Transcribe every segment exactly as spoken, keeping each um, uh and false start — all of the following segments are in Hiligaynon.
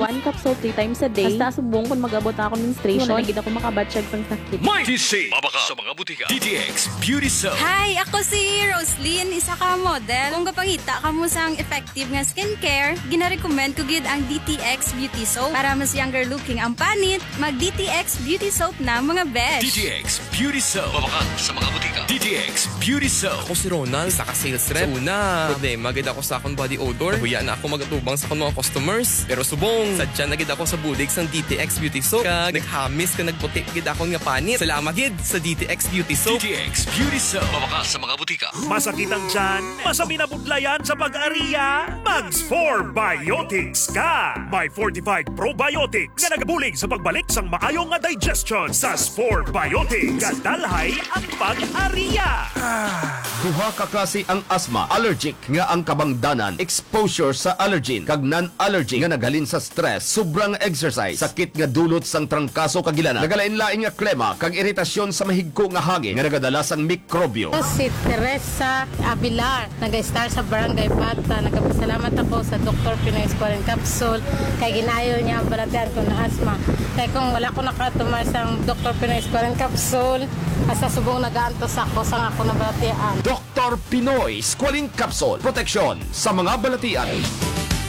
One capsule three times a day. Hasta subong kon mag-abot na akong menstruation, wala na gid ako makabatyag sang sakit. May D C, mabakal sa mga butika. D T X Beauty Soap. Hi, ako si Roslyn, isa ka model. Kung gapangita kamo sang effective nga skincare, ginarecommend ko gid ang D T X Beauty Soap. Para mas younger looking ang panit, mag D T X Beauty Soap na, mga besh. D T X Beauty Soap. Mabakal sa mga butika. D T X Beauty Soap. Ako si Ronald, isa ka sales rep. Sa una, problema gid ako sa akong body odor. Nahuya na ako magatubang sa akong mga customers. Pero subong, sadya na gid ako sa bulig sang D T X Beauty Soap. Kag naghamis kag nagputi gid akon nga panit. Salamat gid sa D T X Beauty Soap. D T X Beauty Soap. Mabakal sa mga butika. Masakit ang tiyan? Masabi na budlayan sa pag-ariya? Mag Spore Biotics ka! May fortified probiotics nga nagabulig sa pagbalik sang maayo nga digestion sa Spore Biotics. Gadalhay ang pag-ariya! Duha ka klase ang asma: allergic nga ang kabangdanan, exposure sa allergen, kag non-allergic nga naghalin sa stress, sobrang exercise, sakit nga dulot sang trangkaso kag ilana, nagalain-lain nga klema, kag iritasyon sa mahigko nga hangin nga nagadala sang mikrobyo. Ako si Teresa Abilar, naga-star sa Barangay Bata. Nagapasalamat ako sa Doktor Pinoy Squalene Capsule kay ginayo niya ang balatian ko na asma. Kay kung wala ko nakatumar sang Doktor Pinoy Squalene Capsule, hasta subong nagaantos ako sang ako nabalatian. Doktor Pinoy Squalene Capsule, proteksyon sa mga balatian.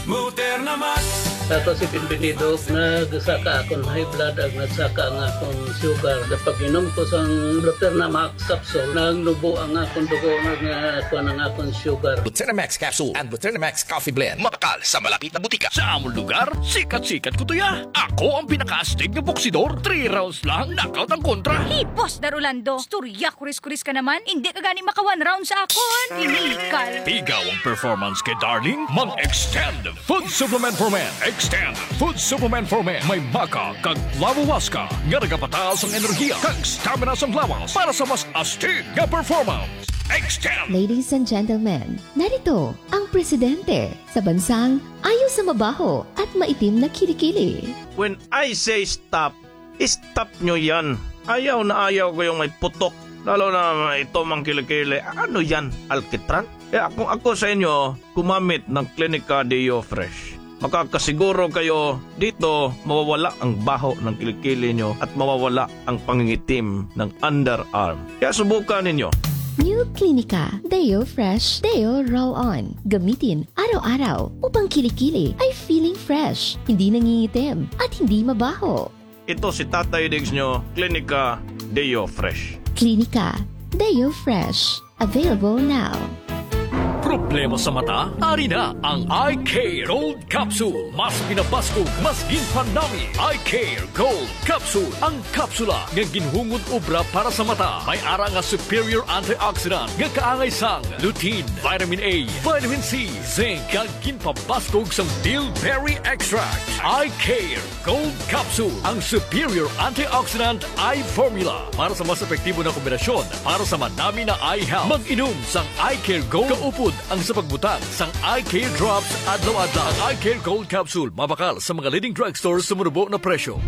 Moderna Max. Ako si Pinpinido, nagsaka akon high blood ag nagsaka ang akon sugar. Sa pag-inom ko sang Moderna Max capsule, nagnubo ang akon dugo, nag-, kuwan ang akon sugar. Buteramax capsule and Buteramax coffee blend. Mabakal sa malapit na butika. Sa amon lugar, sikat-sikat ko to ya. Ako ang pinakaastig nga boksidor. Three rounds lang, knockout ang kontra. Hey, Boss Dar Orlando, istorya kuris-kuris ka naman. Hindi ka gani maka one round sa akon. Tinikal. Pigaw ang performance kay Darling. Mag-Extend Food Supplement for Men. Extend Food Supplement for Men. May maca kag lawawaska nga nagapataas ang enerhiya kag stamina sang lawas para sa mas astig nga performance. Extend! Ladies and gentlemen, narito ang presidente sa bansang ayaw sa mabaho at maitim na kilikili. When I say stop, stop nyo yan. Ayaw na ayaw ko yung may putok. Lalo na ito mang kilikili. Ano yan? Alkitran? Kaya kung ako sa inyo, gumamit ng Clinica Deo Fresh. Makakasiguro kayo dito mawawala ang baho ng kilikili nyo at mawawala ang pangingitim ng underarm. Kaya subukan ninyo. New Clinica Deo Fresh Deo Roll On. Gamitin araw-araw upang kilikili ay feeling fresh, hindi nangingitim, at hindi mabaho. Ito si Tatay Diggs nyo, Clinica Deo Fresh. Clinica Deo Fresh. Available now. Problema sa mata? Ari na ang Eye Care Gold Capsule. Mas pinabaskog, mas ginpanami. Eye Care Gold Capsule. Ang kapsula nga ginhungod obra para sa mata. May ara nga superior antioxidant nga kaangay sang lutein, vitamin A, vitamin C, zinc, kag ginpabaskog sang bilberry extract. Eye Care Gold Capsule, ang superior antioxidant eye formula para sa mas epektibo na kombinasyon para sa manami na eye health. Mag-inom sang Eye Care Gold kaupod ang sa pagbutang sang Eye Care Drops adlaw-adlaw. Ang Eye Care Gold Capsule mabakal sa mga leading drugstores sa manubo na presyo.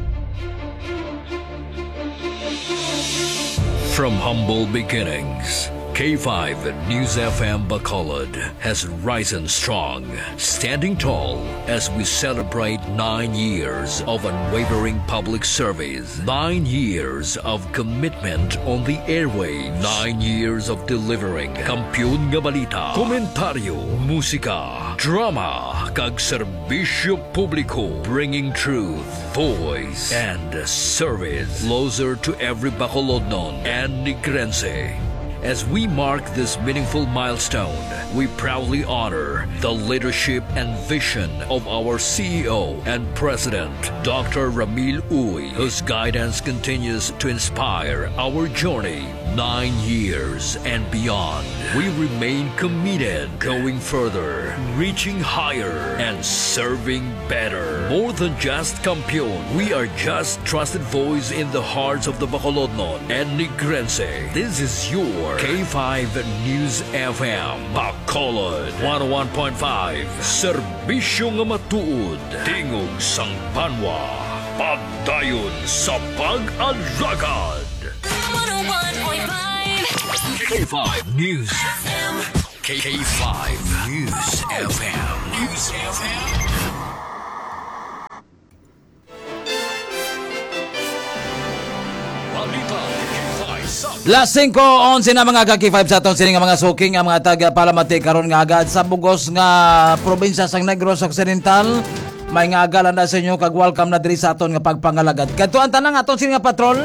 From humble beginnings, K five News F M Bacolod has risen strong, standing tall as we celebrate nine years of unwavering public service, nine years of commitment on the airwaves, nine years of delivering kampiyon nga balita, komentaryo, musika, drama, kag serbisyo publiko, bringing truth, voice, and service closer to every Bacolodnon and Negrense. As we mark this meaningful milestone, we proudly honor the leadership and vision of our C E O and President, Doctor Ramil Uy, whose guidance continues to inspire our journey nine years and beyond. We remain committed, going further, reaching higher, and serving better. More than just kampiyon, we are just trusted voice in the hearts of the Bacolodnon and Negrense. This is your K five News F M, Bacolod, one oh one point five, serbisyo nga matuod, tingog sang banwa, pagdayon sa pag-alagad. One oh one point five K five News F M. K five News F M. News F M. Las singko onse na, mga ka-K five, sa aton sini nga mga suking nga mga taga-palamati karon nga agad sa bugos nga probinsya sang Negros Occidental. May nga aga lang na sa inyo, kag welcome na diri sa aton nga pagpangalagad. Kadto ang tanang aton sini nga patrol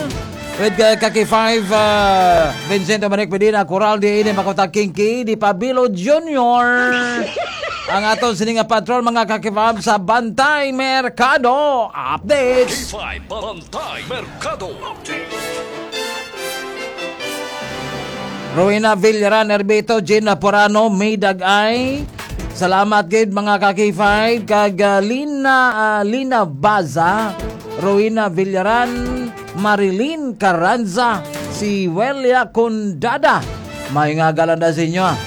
with, uh, ka-K five, uh, Vincent Dominic Medina, Coral D N, Makota Kinky, Di Pabilo Junior. Ang aton sini nga patrol, mga ka-K five, sa Bantay Merkado Updates. K five Bantay Merkado Updates. Rowena Villaran, Erbito, Gina Porano, May Dagay. Salamat gid, mga ka-K five, kag, ah, Lina, ah, Lina Baza, Rowena Villaran, Marilyn Carranza, si Welia Condada. May nga aga lang na sa inyo, ah.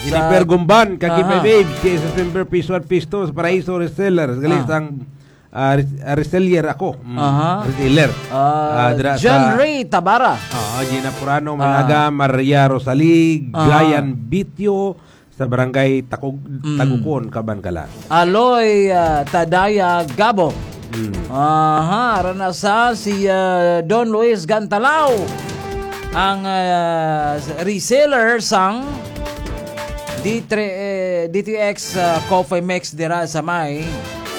Jennifer Sa Gumban, ka-K five Aha. Babes, kay sa September Piso at Pisto sa Paraiso Resellers. Gali Ah. sang, ah, res-, ah, reseller ako. Mm, Aha. reseller. Ah, Ah, dira John sa Ray Tabara. Ah, Gina Purano, Ah. Malaga, Maria Rosalie, Aha. Brian Bitio, sa barangay Takug-, Mm. Tagukon, Kabankalan. Aloy, ah, Tadaya Gabo. Mm. Aha, ara na sa si, ah, Don Luis Gantalao, ang, ah, reseller sang D three, eh, D T X, ah, Coffee Mix dira sa may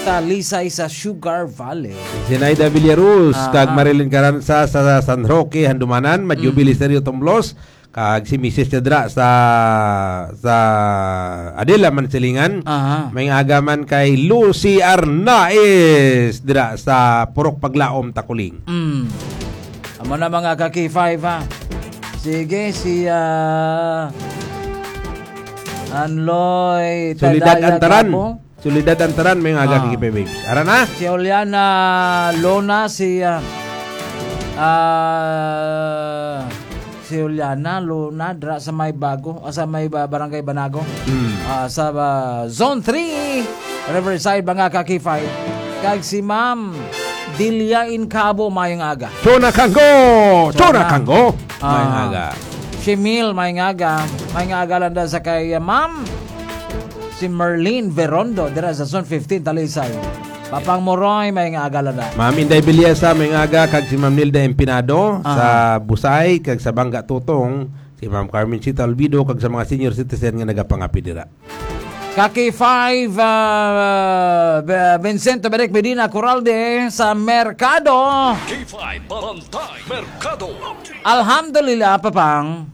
Talisay sa Sugar Valley. Zinaida Villaruz, Aha. kag Marilyn Caranza sa San Roque, Handumanan, Madyo Mm. Belisario Tomblos, kag si misis niya dira sa, sa Adela, Mansilingan. Aha. May nga aga man kay Lucy Arnaiz dira sa Purok Paglaom, Takuling. Mm. Amo na, mga ka-K five, ha. Sige, si, ah, Anloy Soledad Tadaya Antaran. Gabo. Soledad Antaran, may nga aga Ah. kay Babes. Ara na? Si Juliana Luna, si, ah, ah, si Juliana Luna, dra sa may Bago, ah, sa may ba-, Barangay Banago. Mm. Ah, sa, ah, Zone three, Riverside, mga ka-K five. Kag si Ma'am Dilia Incabo, mayong aga. Chona Kanggo! Chona Chona. Kanggo! Mayong Ah. aga. Si Mil, mayong aga. Mayong aga lang daw sa kay, ah, Ma'am. Si Merlin Verondo, dira sa Zone fifteen, Talisay. Papang Moroy, mayong aga lang na. Ma'am Inday Villasa, mayong aga, kag si Ma'am Nilda Empinado Aha. sa Busay, kag sa Bangga Tutong, si Ma'am Carmen Chita Olvido, kag sa mga senior citizen nga nagapangapi dira. Ka-K five, ah, Be-, Vincent Dominic Medina Coralde sa Merkado. K five Bantay Merkado. Alhamdulillah, Papang.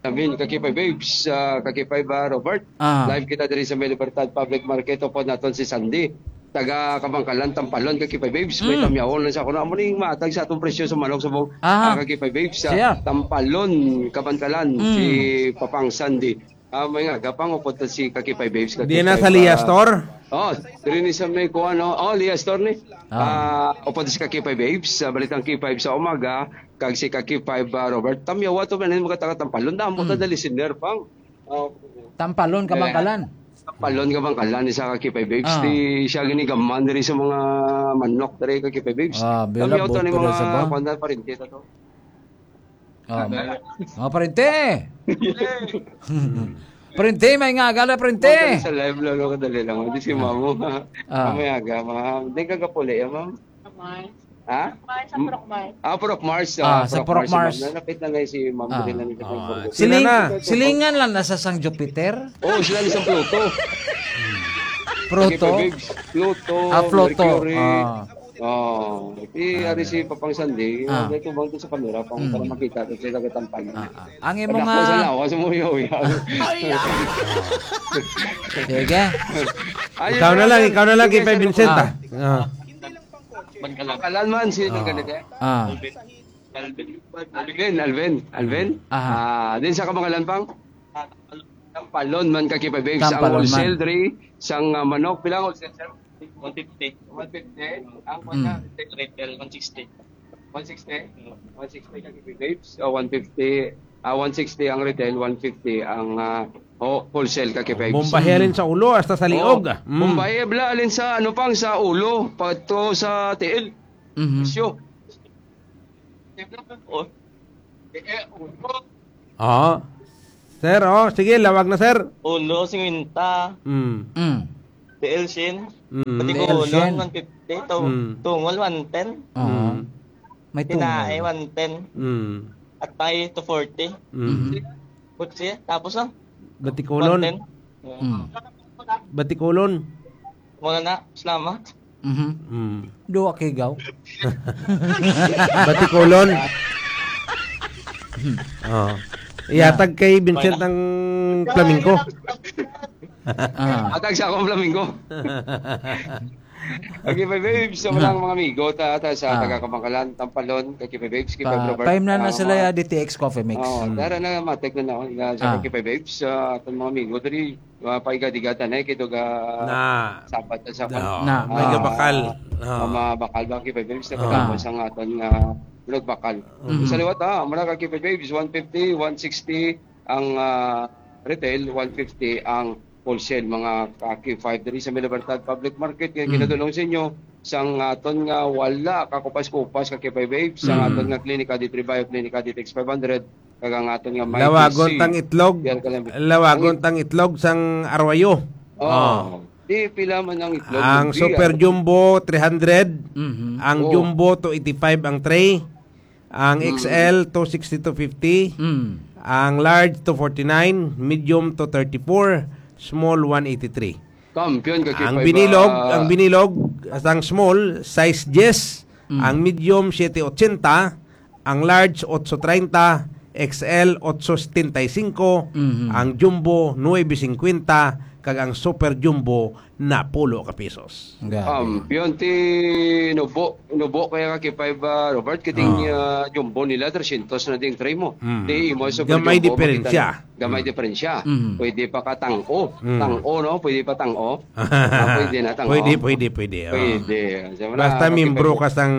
Amin, ka-K five Babes, ah, ka-K five, ah, Robert. Ah. Live kita diri sa may Libertad Public Market, upod naton si Sandy. Taga Kabangkalan, Tampalon, ka-K five Babes. May Mm. tamyawon lang sa kuno. Amo ning matag sa atong presyo sa manok sa buong, Aha. ah, ka-K five Babes, sa Siya. Tampalon, Kabangkalan, Mm. si Papang Sandy. Ah, may nga, gapang upod to si ka-K five Babes, Di na ka-K five, sa Lia ah, Store? Oh, diri ni sa may kuwan, no? Oh, Lia Store ni. Ah. Ah, upod si ka-K five Babes, sa Balitang K five sa umaga, kag si ka-K five, ah, Robert. Tamyawa to, man, mga taga Tampalon. Damo ta Mm. na listener, pang. Oh. Tampalon, Kabangkalan. Tampalon, Kabangkalan, isa ka-K five Babes. Ah. Di siya ginigaman diri sa mga manok diri, ka-K five Babes. Ah, bila Tamyaw to ni buto na mga sa ba? Kuwan na, parente ta to. Ah, mga parente. Parente, may nga aga na, parente. Sa live lang ako, dali lang. Hindi si Mamo. Ah. Mamaya aga, ma'am. Hindi ka kapuli, eh, ma'am? Mars. Ha? Mars, sa M-, Purok Mars. Ah, Purok Mars. Ah, sa Purok Purok Mars, Mars. Ma'am. Nalapit na nga si Ma'am. Ah. Dali lang yung Ah, Purok Mars. Silingan, Sino na? silingan lang na sa Sang Jupiter. Oo, sila ni Sang Pluto. Pluto? Sige, Pluto, Ah, Pluto. Mercury. Ah. Oh, di ari si Papang Sandy, Ah. dito bang to sa kamera, pang, Mm. para makita ko sila katampal. Ah, ah. Ang imo Anak ko nga sa lawas mo, yo, yo. Sige. Ayun Ikaw na lang, ikaw na lang, Sige, kay Sir Benson, Lucas. ah. Ah. Kalan man, sino Ah. ganito? Ah. Alvin, Alvin, Alvin. Aha. Ah, din sa kabangalan pang? Tampalon man ka, K five Babes. Ang Tampalon man. wholesale diri, sang, ah, manok, pila ang wholesale, sir? One fifty. One fifty. Ang Mm. one retail, one sixty. One sixty? One sixty ka, K five Babes. O, one fifty, ah, one sixty ang retail, one fifty ang, ah, ho-, wholesale ka, K five Babes. Bombahe alin sa ulo hasta sa liog. Oh, Mm. bombahe, bla, alin sa, ano pang, sa ulo, pato sa tiil. Mhm. Presyo. Oh. Oo. Sir, oh, sige, lawag na, sir. Ulo, singkwenta. Mm. Mm. Tiil, syen. Mm. Pati Tiil, ko ulo, syen. one fifty. To-, Mm. tungol, one ten. Oo. Mm. May Tinae, tungol. one ten. Mm. Atay, two forty. Mm. Mhm. Butsi, tapos, ah? Batikulon. One ten. Mm. Batikulon. Wala na. Salamat. Mhm. Mm. Duha ka higaw. Batikulon. Oh. Ihatag kay Vincent ang flamingo. Ah. Atag sa akong flamingo. Okay, five waves sa Mm. mga, mga amigo, ta, ta, sa Ah. taga Kabangalan, Tampalon, kay five waves, kay Pa-, five Robert, paimna na ah, sila mga ya D T X Coffee Mix. Oh, Mm. dara na, matek na na, na sa Ah. kay five waves, sa atong mga amigo, diri, mga paigadigatan, eh, kay duga Na. Sabat na sa Na. Na. May Ah. gabakal. Ah. Mga bakal ba, kay five waves, na Ah. pagkapos ang aton nga vlog bakal. Mm. Sa liwat, ah, mura ka kay five waves, one fifty, one sixty, ang, ah, retail, one fifty ang wholesale, mga ka-K five diri sa May Libertad Public Market, nga Mm. ginadulong sa inyo sang aton nga wala kakupas-kupas ka K five Waves, sang Mm. aton nga Clinica D three Bio, Clinica D T X five hundred, kag ang aton nga May Lawagon T C. tang itlog. Yan ka lang. Lawagon Ang it- tang itlog sang arwayo. Oh. Oh. Di pila man ang itlog, Ang Lumpia. Super Jumbo, three hundred. Mhm. Ang Oh. Jumbo, two eighty-five ang tray. Ang Mm. X L, two sixty, two fifty. Mm. Ang large, two forty-nine. Medium, two thirty-four. Small, one eighty-three. Kampiyon ka, Ang K five, binilog, ah. ang binilog, ang small, size diyes. Mm. Ang medium, siyete ochenta. Ang large, otso treinta. X L, otso setenta y cinco. Mhm. Ang jumbo, nuebe cincuenta. Kag ang super jumbo, napulo ka pesos. Grabe. Um, yun, ti nubo, nubo kaya ka kay five, ah, Robert, kiting, Ah. ah, jumbo nila, tresyentos na ding tray mo. Mm. Di imo sa Gamay jumbo, diferensya. makita na. Gamay Mm. diferensya. Mm. Pwede pa ka tang-o. Mm. Tang-o, no? Pwede pa tang-o. Ah, pwede na tang-o. Pwede, pwede, pwede. Oh. Pwede. Sa mga Basta makipag- membro ka sang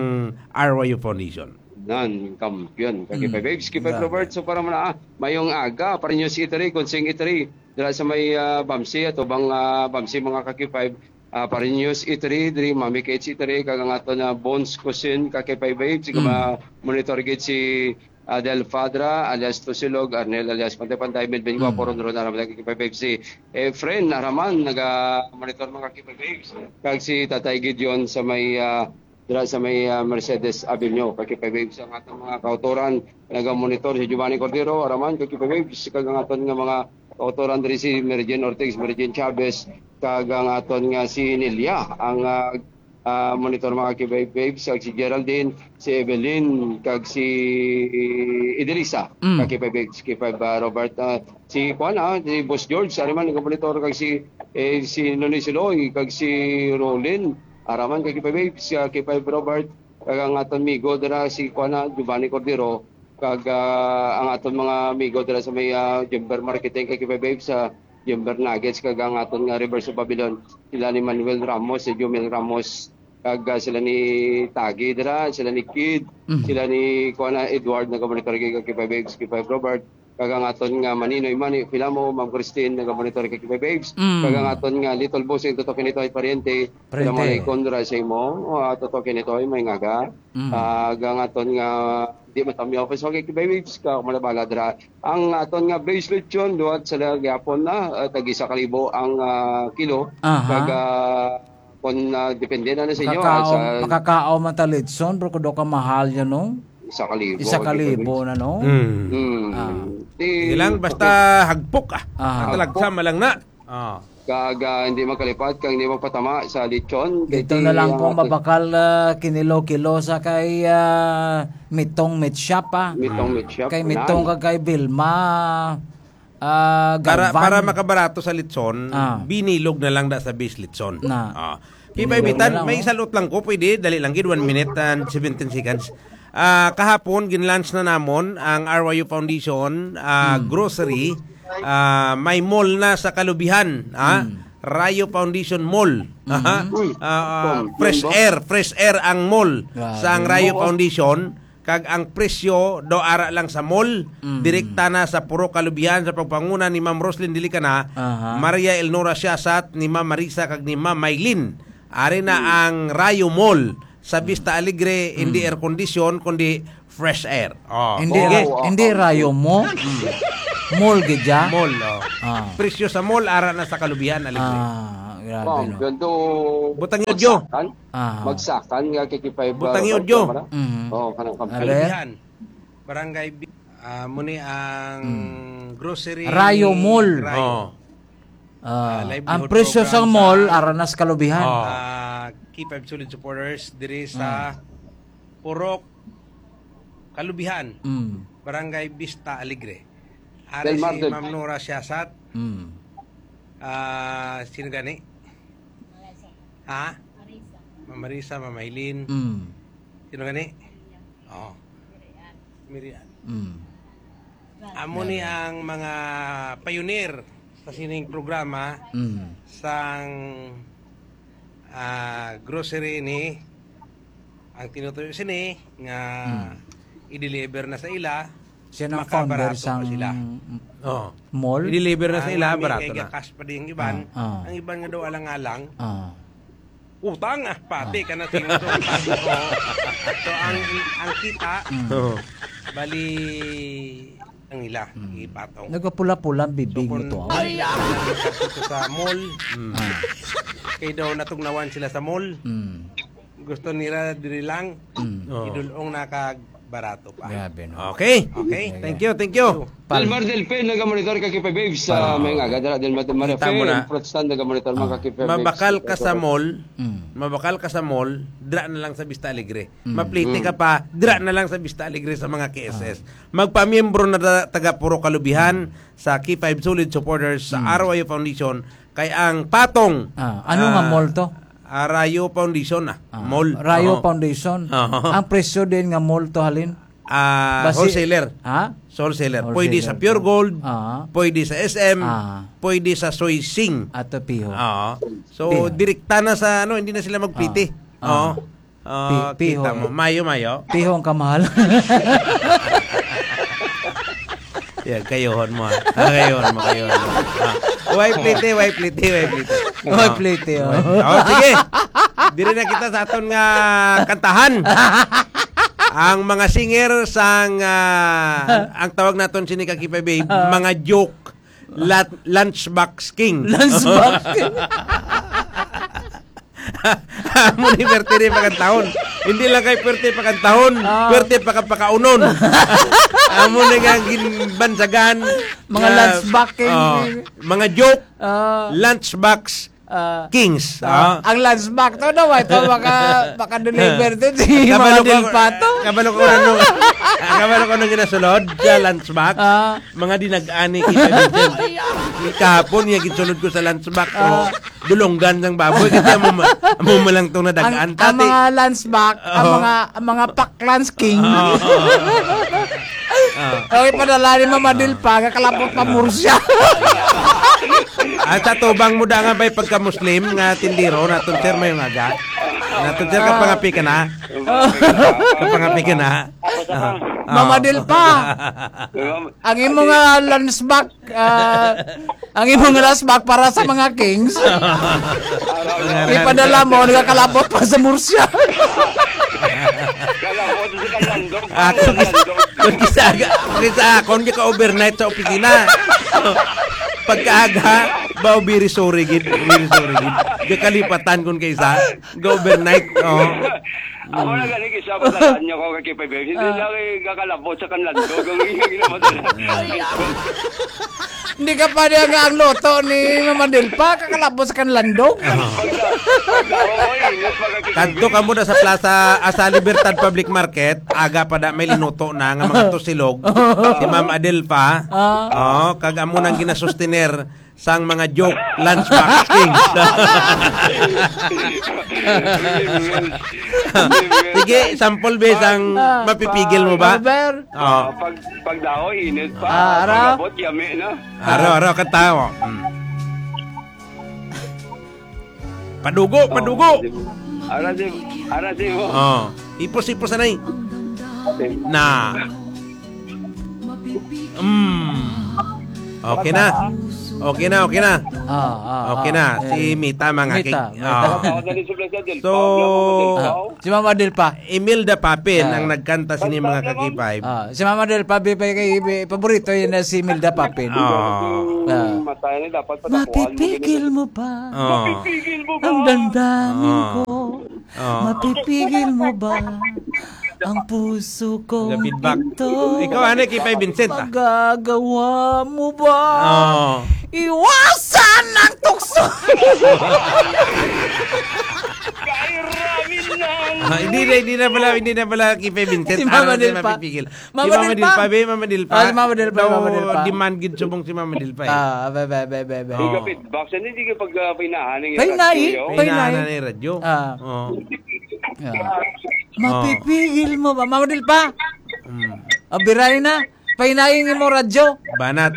R Y U Foundation. Nan, kampiyon. Kaki Mm. five Waves, kay five Grabe. Robert. So, para mo na, ah, mayong aga, para ninyo si Itri, Consing Itri, dira sa may, ah, Bamsi, ato bang, ah, Bamsi, mga kaki five, ah, para ninyo si Itri, diri, Mami Kate si Itri, kag ang ato na Bones Cousin, kaki five Waves, Mm. monitor gid si, ah, Del Fadra, alias Tusilog, Arnel, alias Pantay Pantay, Melvin Guapo, Mm. Ron Ron, Araman, kaki five Waves, si Efren Araman, naga-monitor, mga kaki five Waves, kag si Tatay Gideon sa may, ah, dira sa may, ah, Mercedes Avenue. Kaki five Waves ang atong mga kautoran, naga-monitor si Giovanni Cordero, Araman, kaki five Waves, kag ang aton nga mga kautoran diri si Mary Jane Ortiz, Mary Jane Chavez, kag ang aton nga si Nelia, ang, ah, ah, monitor, mga kaki five Waves, kag si Geraldine, si Evelyn, kag si Edelisa, Mm. kaki five Waves, kaki five, ah, Robert, ah, si, kuwan, ah, si Boss George, Araman, naga-monitor, kag si, eh, si Nonoy Siloy, kag si Rolin, Araman, kaki five Waves, kaki five Robert, kag ang aton migo dira si, kuwan, ah, Giovanni Cordero, kag, ah, ang aton mga migo dira sa may, ah, Jember Marketing, kaki five Waves, sa Jember Nuggets, kag ang aton nga Reverse of Babylon, sila ni Manuel Ramos, si Jomel Ramos, kag, ah, sila ni Tagi dira, sila ni Kid, Mhm. sila ni, kuwan, ah, Edward, naga-monitor kay, kaki five Waves, kaki five Robert, kag ang aton nga Maninoy Mani Filamo, Ma'am Christine, naga-monitor kay, kaki five Waves, Mm. kag ang aton nga Little Bossing, Toto Kinitoy, Pariente, Pariente. Sila mga ikon dira sa imo, ah, Toto Kinitoy, may ngaga. Mm. Ah, ang aton nga, di man tami office, okay, kaki five Waves, ka, malabala dira. Ang aton nga Blaze Lechon, duhat sa gyapon na, ah, tag isa ka libo ang, ah, kilo. Aha. Kag, ah, kung, ah, depende na, na sa inyo, ah, Makakao-, sa makakao man ta litson, pero kudo ka mahal yan, no? Isa ka libo, Isa ka kaki five Waves. libo na, no? Mm. Mm. Ah. Di, Sige lang, basta hagpok, ah. Ah. Ang talagsa, malang na. Ah. Kag, ah, hindi magkalipat, kag hindi magpatama sa lechon. Dito Kay na lang ang po ato- mabakal, ah, kinilo-kilo sa kay, ah, Mitong Meat Shop, ah. Mitong Meat Shop, Kay nan. Mitong kag kay Vilma, ah, Para, Galvan. para makabarato sa litson, Ah. binilog na lang da sa base litson. Na. Ah. Pinaibitan, Pinulong na lang, may oh. salot lang ko, pwede, dali lang gid, one minute and seventeen seconds. Ah, kahapon, ginlaunch na namon ang R Y U Foundation, ah, Hmm. grocery. Ah, may mall na sa Kalubihan, ah. Hmm. Rayo Foundation Mall. Hmm. Aha. Uy, Ah, ah, Tom, fresh Tom, air, fresh air ang mall Grabe. sa ang Rayo Oo. Foundation. Kag ang presyo do ara lang sa mall, Mm. direkta na sa Purok Kalubihan sa pagpanguna ni Ma'am Roslyn Dilicana, Aha. Maria Elnora Siasat, ni Ma'am Marisa, kag ni Ma'am Maylin. Ari na Mm. ang Rayo Mall sa Mm. Vista Alegre, hindi Mm. air condition, kundi fresh air. Oh, Hindi, okay. ra-, hindi Rayo mo. Mm. Mall gid ya? Mall, oh. Ah. Presyo sa mall, ara na sa Kalubihan, Alegre. Ah, Grabe, no? Butang yun, Joe. Magsakan. Ah. Magsakan nga kikipay ba Butang yun, Joe. Mm. Oh, kanang campaign. Kalubihan. Barangay Bi-, ah, muni ang Mm. grocery Rayo Mall. Rayo. Oh. Ah, Ah, livelihood ang presyo program sang mall, sa, ara na sa Kalubihan. Oh. ah, K five Solid supporters diri sa Mm. Purok Kalubihan, Mm. Barangay Vista Alegre. Ari Del Mar si Del Ma'am Nora Siasat. Mm. Ah, sino gani? Ha? Ma'am Marisa, Ma'am Aileen. Mm. Sino gani? Oh. Mirian. Mm. Amo ni Grabe. ang mga pioneer sa sining programa Mm. sang, ah, grocery ni ang tinutuyo sini nga Mm. i-deliver na sa ila, Siya ang founder makabarato pa sang sila. Oh. mall? I-deliver na sa Ang ila, mga may barato kay na. gakas pa din ang iban, Ah, ah. ang iban nga daw alang-alang, Ah. utang, ah, pati Ah. ka na tingog. So, ang, ang kita, Mm. Oo. bali, ang ila, Mm. ipatong. Nagapula-pula ang bibig So, mo kung to, ah. Ay, ah. Sa mall, Mm. Ah. kay daw natugnawan sila sa mall. Mm. Gusto nila diri lang, Mm. Oo. idulong na kag barato pa. Grabe, no? Okay. Okay. Thank you, thank you. Pal- Del Mar Del Pe, nagamonitor ka K five Waves sa Ah. may nga, gadala Del Mar Del Mar Kita mo F M, na. Protestant, nagamonitor man Ah. ka K five Waves. Mabakal ka sa mall, Mm. mabakal ka sa mall, dra na lang sa Vista Alegre. Mm. Maplete Mm. ka pa, dra na lang sa Vista Alegre sa mga K S S. Ah. Magpamiyembro na ta-, taga Purok Kalubihan Mm. sa K five Solid Supporters sa Mm. Araw Ayo Foundation, kay ang patong, Ah, ano nga ah, mall to? ah, Rayo Foundation, ah, Ah, mall. Rayo Oo. Foundation. Oo. Ang presyo din nga mall to, halin? Ah, Basi-, wholesaler. Ha? Sa wholesaler. Pwede sa Wholesaler. Pure Gold, Ah. pwede sa S M, Ah. pwede sa Soy Sing. Ato, Piho. Oo. So, Piho. direkta na sa, ano, hindi na sila magplete. Ah. Oo. Ah. Ah, Pi-, Piho. kita mo. Mayo, mayo. Piho ang kamahal. Yeah, kayohon mo, ah. Ah, kayohon mo, kayohon mo. Ah. Why plete, why plete, why plete? Why Ah. plete, oh. Oh, sige. Diri na kita sa aton nga kantahan. Ang mga singer sang, ah, ang tawag naton sini ka K five Waves, Ah. mga joke, lat-, lunchbox king. Lunchbox king. Amo ni perte ni pakantahon. Hindi lang kay perte pakantahon, Ah. perte paka-, pakaunon. Amo ni nga ginbansagan Mga nga, lunchbox king. oh, mga joke, Ah. lunchbox Ah, kings, ah, ah. ang lunchbox to, no? Ito, maka-, maka-deliver to si Kabalo Mama ko, Del Pato. kabalo ko na nung, ah, kabalo ko nung ginasulod sa lunchbox. Ah. Mga dinag-ani kita, Vincent. Kahapon, yung ginsulod ko sa lunchbox, Ah. oh, dulonggan sang baboy. Kasi amo ma-, amo man lang itong nadagaan. Ang, ang Tati. mga lunchbox, ang Oo. mga, ang mga pack lunch king. Oo. Ah. Okay, padala ni Mama Del pa, kakalapot pa mursa. At sa tubang mo da nga ba'y pagka-Muslim nga tindero, naton, sir, may nga ga. Naton, sir, Ah. kapangapi ka na. Kapangapi ka na. Ah. Mama Ah. Del pa. Ang imo nga lunchbox, ah, ang imo nga lunchbox para sa mga kings. Ipadala mo, nagkakalapot pa sa mursa. Kalapot sa kalandong. Ako, Kalandong. kung kisa, kung kisa, kung di ka overnight sa opisina. Pagkaaga, ba, very sorry, gid. Very sorry, gid. Di kalipatan kung kaisa. Ga overnight, oh. Ako na gani, kisa, padalaan niyo ako kay K five Waves. Hindi Ah. lang, eh, kakalapot sa kanlandog. Ang iyang ginamadala. Hindi ka pa niya nga ang luto ni Mama Del pa, kakalapos kan landog. Pagka, pagka, oo, init, pagka Kadto ka muna sa plaza, ah, sa Libertad Public Market, aga pa da may linuto na nga mga tusilog. Si Ma'am Adelfa. Ah. Oh, kag amo nang ginasustener sang mga joke, lunchbox king. Sige, sample, be, sang Ah. mapipigil mo ba? Over. Oh. Ah, pag, pag daw, init pa. Ah, ara. Pag abot, yami na. Aro, aro, kanta mo. Mm. Padugo, Oh, padugo. Ara si, ara si mo. Oh, ipos-ipos, anay. Okay. Na. Mm. Okay na. Okay na, okay na. Ah, ah, Okay ah. na. Si Eh, Mita, mga Mita, kig-, Mita. ah. Ako, dali, subli sa Del So, Pao, ako, Del Ah, Pao. si Mama Del pa. Imelda Papin Ah. ang nagkanta sini, mga Pagtawag mo. Ka-K five. Ah, si Mama Del pa, bi-, bi-, bi-, paborito yun na si Imelda Papin. Ah. Ah. Matay na, dapat padakuan mo. Mapipigil mo ba Oh. Mapipigil mo ba? Ang damdamin Oh. ko? Oh. Mapipigil mo ba ang puso ko? Feedback. Ito? Ikaw, ano, kay Pay Vincent, ah? Magagawa mo ba? Oh. Iwasan ang tukso. Kay Ramin lang. Ah, hindi na, hindi na pala, hindi na pala kay Pay Vincent. Si Mama Ano, Dilpa. Mapipigil. Mama Si Mama Dilpa. Dilpa, be, Mama Dilpa. Ah, si Mama Dilpa, Daw Mama Dilpa. Demand gid subong si Mama Dilpa, eh. Ah, be, be, be, be, be. Oh. Di ka feedback. Sa hindi ka pag, ah, pinahan ng Pay na, eh. radyo. Pay na, Pinahan eh. na ng radyo. Ah. Oh. Ah. Oh. Mapipigil mo ba? Mama Dilpa. Mm. Abiray na. Painayin mo radyo. Banat.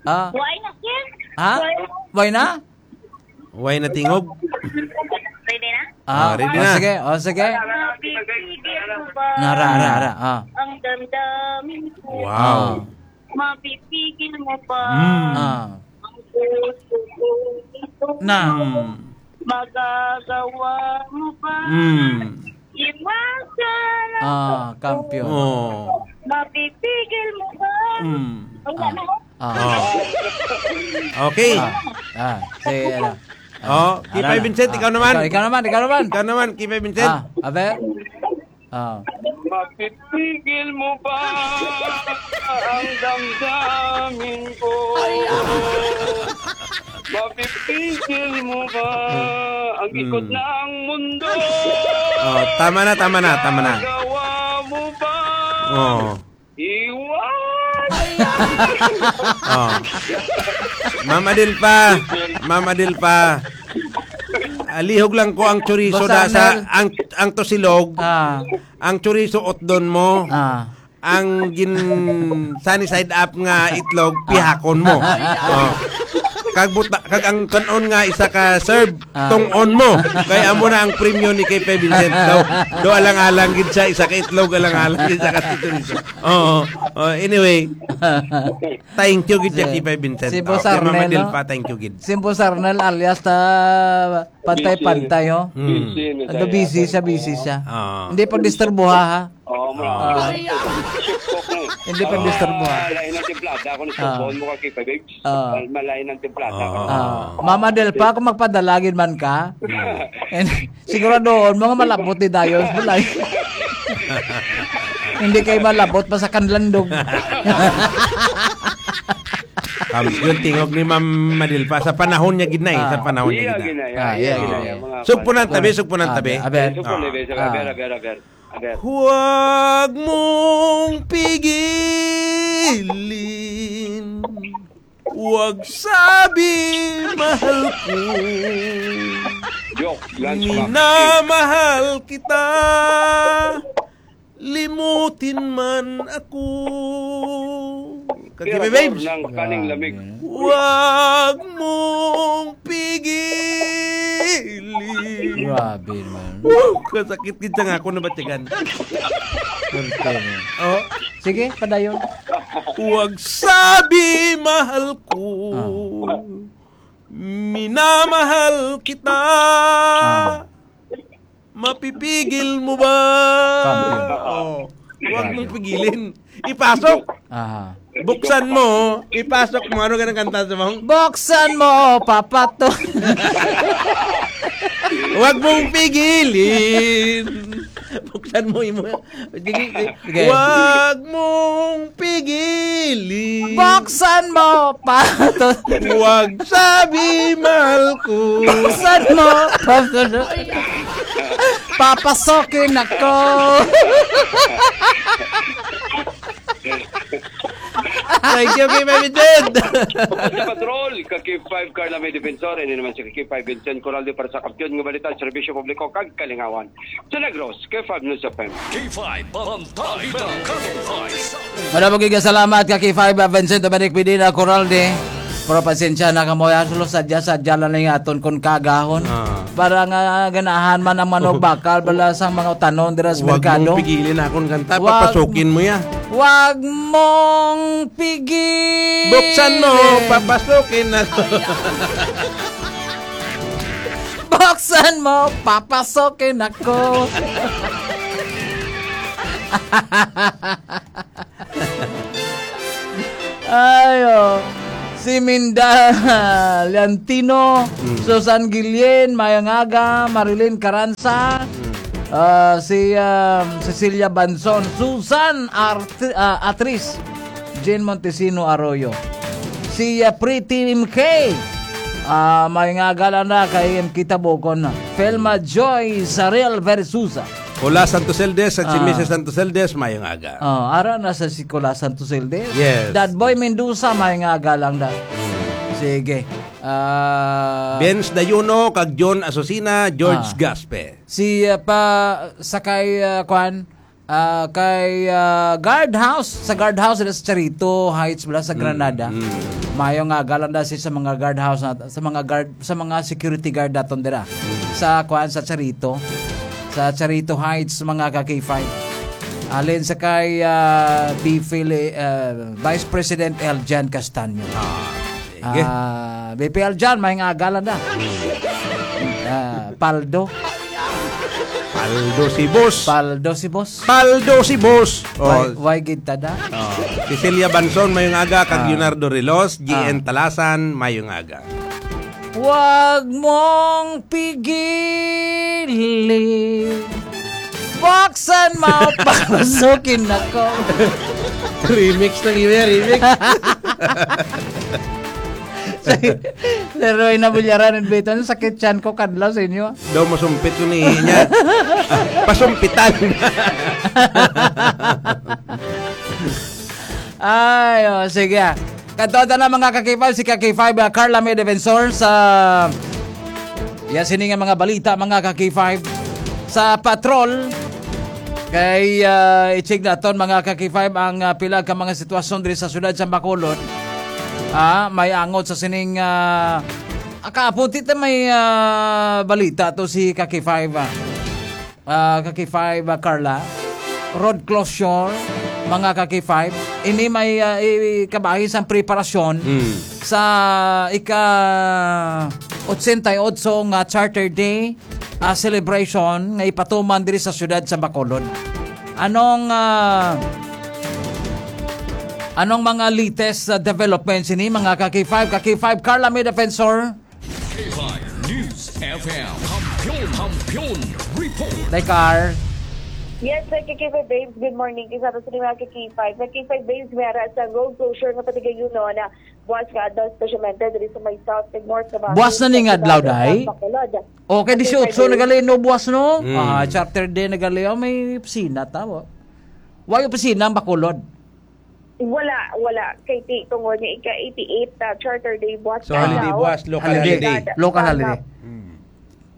Ah. Why na, sir? Ha? Why? Why na? Why na tingog? Pwede na? Ah, Ah, ready oh, na. sige, oh, sige. Mapipigil mo ba Nara, ara, ara, ah. ang damdamin ko? Wow. Ah. Mapipigil mo ba Mm. Ah. ang puso ko ito? Na. Mm. Magagawa mo ba? Mm. Iwasan ang Ah, kampiyon. Oh. Mapipigil mo ba? Mm. Ang Ah. ano? Ah. Oh. Okay. Ah, ah, si, ano, Oh, ano, Kipay ano? Vincent, Ah, ikaw naman. Ikaw, ikaw naman, ikaw naman. Ikaw naman, Kipay Vincent. Ah, abe? Ah. Mapipigil mo ba ang damdamin ko? Mapipigil mo ba ang Hmm. ikot ng mundo? Oh, tama na, tama na, tama na. Magawa mo ba? Oh. Iwan! Oh. Ma'am Adelpa, Ma'am Adelpa. Alihog lang ko ang chorizo Boss da sa Arnel. ang, ang tusilog, Ah. ang chorizo utdon mo. Ah. Ang gin sunny side up nga itlog, Ah. pihakon mo. Oh. Kag buta, kag ang kanon nga isa ka serve, Ah. tong-on mo. Kay amo na ang premyo ni Kay Vincent. Daw, daw alang-alang gid siya, isa ka itlog, alang-alang gid siya ka chorizo. Oo. Oh, anyway, thank you gid Si, kay Vincent. si Boss Oh, kay Mama Arnel, no? Dilpa, thank you gid. Si Boss Arnel alias ta pantay-pantay, oh. Hmm. Busy na Ano, siya. busy siya, busy siya. Ah. Hindi pagdisturbuha, ha? Oo, ma'am. Ah. Hindi pagdisturbuha. Ah, lain ang timplada. Ako Ah. nagsumbon mo ka kay Babes. Ah. Mal-, malain ang timplada. Ah. Ah. Mama Del Pa, kung magpadala gid man ka, Hmm. and siguradohon mo nga malabot ni Dayon. Malay. Hindi kay malabot pa sa kanlandog. Tapos yun, tingog ni Ma'am Madilpa, sa panahon niya gid na eh, Ah. sa panahon niya Iya, gid na. gid na, iya, Ah, iya, iya, gid na, iya. iya, mga Sugpunan tabi, sugpunan Ah, tabi. aber. Sugpunan tabi, sugpunan. Ah. Aber, aber, aber, aber. Huwag mong pigilin. Huwag sabi, mahal ko. Joke lang, joke. Minamahal kita. Limutin man ako. Kag Tira, Kibibibs. Ng kaning lamig. Grabe. Huwag mong pigilin. Grabe naman. Wow, kasakit gid sa nga ako nabatigan. Swerte mo. Oh. Sige, padayon. Huwag sabi, mahal ko. Ah. Minamahal kita. Ah. Mapipigil mo ba? Kampiyon. Oh, huwag mong pigilin. Ipasok. Aha. Buksan mo, ipasok mo. Ano ka ng kanta sa mong? Buksan mo, papato. Huwag mong pigilin. Buksan mo, imo. Sige, sige. Sige. Huwag mong pigilin. Buksan mo, pato. Huwag sabi, mahal ko. Buksan mo, pato. Papasokin ako. Thank you, Kay Mami Jed. Sa Patrol, ka K five Carla May Defensor, ini naman si K five Vincent Coralde para sa Kampiyon nga Balita, Serbisyo Publiko kag Kalingawan. Sa Negros, K five News F M. K five, Bantay Balita. Madamo gid nga salamat ka K five, Vincent Dominic Medina Coralde. Pero pasensya na kamo, ya, sulo sadya, sadya lang nga aton kon kagahon. Ah. Para nga ganahan man ang manok bakal, bala sang mga utanon dira sa Huwag merkado. Mong pigilin akong kanta, Huwag papasukin mo ya. Huwag mong pigilin. Buksan mo, papasukin na to. Buksan mo, papasokin ako. Ayo. Si Minda Leontino, Susan Guillen, mayong aga, Marilyn Caranza, ah, si, ah, Cecilia Banson, Susan Art-, ah, Atris, Jean Montesino Arroyo, si, ah, Pretty M K, ah, mayong aga lang na kay M K Tabokon, Felma Joy Sarel Versusa. Hola Santos Eldes at si Ah. Missus Santos Eldes, mayong aga. Oh, ara na sa si Cola Santos Eldes. Yes. Dad Boy Mendoza, may nga galang da. Sige. Ah, Benz Dayuno, kag John Asusina, George Ah. Gaspe. Si, ah, pa, sa kay, ah, kwan, ah, kay, ah, guardhouse, sa guardhouse dira sa Charito Heights, bala sa Mm, Granada. mm. Mayo nga galang da si sa mga guardhouse na, sa mga guard, sa mga security guard daton dira. Mm. Sa kwan, sa Charito. Sa Charito Heights, mga ka-K five. Alin sa kay, ah, B Phil-, ah, Vice President Eljan Castaño. Ah, sige. Ah, B P Eljan, may nga agalan na. Ah, Paldo. Paldo si boss. Paldo si boss. Paldo si boss. Oh. Why, why gid tada? Oh. Cecilia Banson, mayong aga. Kag Ah. Leonardo Rilos, G N Ah. Talasan, mayong aga. Wag mong pigilin. Buksan mo, papasukin ako. Remix na yun, eh, remix. Sir Roy Nabulyaran and Beto, ang sakit tiyan ko, kadlaw sa inyo. Daw masumpit ko ni niya. Pasumpitan. Ay, oh, sige. Kadto ta na, mga ka-K five, si ka-K five, ah, Carla May Defensor sa, ya, sini nga mga balita, mga ka-K five, sa patrol. Kay, ah, i-check naton, mga ka-K five, ang, ah, pila ka mga sitwasyon diri sa siyudad sa Bacolod. Ah, may angot sa sining, ah, ah, kaapon, tita, may, ah, balita to si ka-K five, ah. Ah, ka-K five, ah, Carla. Road closure, mga ka-K five. Ini may, ah, i-, kabahin sang preparasyon Mm. sa ika-otsenta y otso nga Charter Day, ah, celebration nga ipatuman diri sa siyudad sa Bacolod. Anong, ah, anong mga latest, ah, developments ini, mga ka-K five? Ka-K five, Carla May Defensor. K five News F M. Kampiyon, Kampiyon Report. Day Car. Yes, sir, K K five Babes. Good morning. Kisa sa mga K K five. Mga K K five Babes, may ara sa road closure nga patigayunon na buwas nga adlaw, especially diri sa may South and North Cavite. Buwas na ni nga adlaw, day? Bacolod. Okay, K K five dieciocho Babes. Nagali, no, buwas, no? Mm. Ah, Charter Day nagali. Oh, may opisina, tama. Why opisina ang Bacolod? Wala, wala. Kay ti-, tungod nga ika-eighty-eight, ah, Charter Day, buwas So, ka holiday adlaw. buwas, local Holiday. holiday. Local Sa holiday. Mm.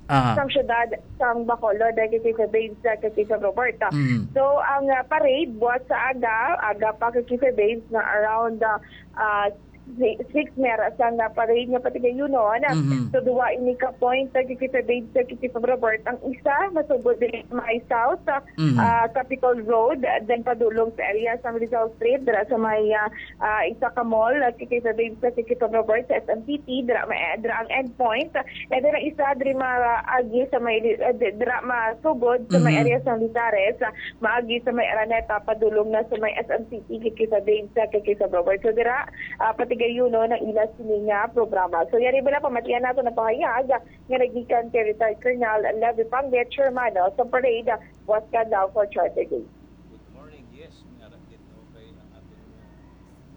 Aha. Sang syudad, sang Bacolod, dahil kay Sir Babes, ah, kay Sir Roberta. Mm. So, ang, ah, parade, buwas sa aga, aga pa kay Sir Babes na around, ah, ah, si-, six mera sang, ah, parade nga patigayunon. Mhm. So, duwa ini ka point, ah, kay Sir Babes, ah, kay Sir Robert. Ang isa, masugod diri sa may South, ah, Mhm. ah, Capitol Road, ah, then padulong sa area sa Rizal Street, dira sa may, ah, ah, isa ka mall, ah, kay Sir Babes, ah, kay Sir Robert sa S M City, dira may, dira ang endpoint. Ah, and then ang isa, diri maagi sa may, ah, di-, dira masugod sa may Mhm. area sa Lizares, ah, maagi sa may Araneta, padulong na sa may S M City, kay Sir Babes, ah, kay Sir Robert. So, dira, ah, patigayunon ang ila sini nga programa. So, yari bala, pamatian nato na pahayag, ah, nga nagikan kay Retired Colonel Levy Pangle, chairman, no, sa parade, ah, buwas ka daw for Charter Day. Good morning. Yes, may ara gid, no, kay ang aton, uh,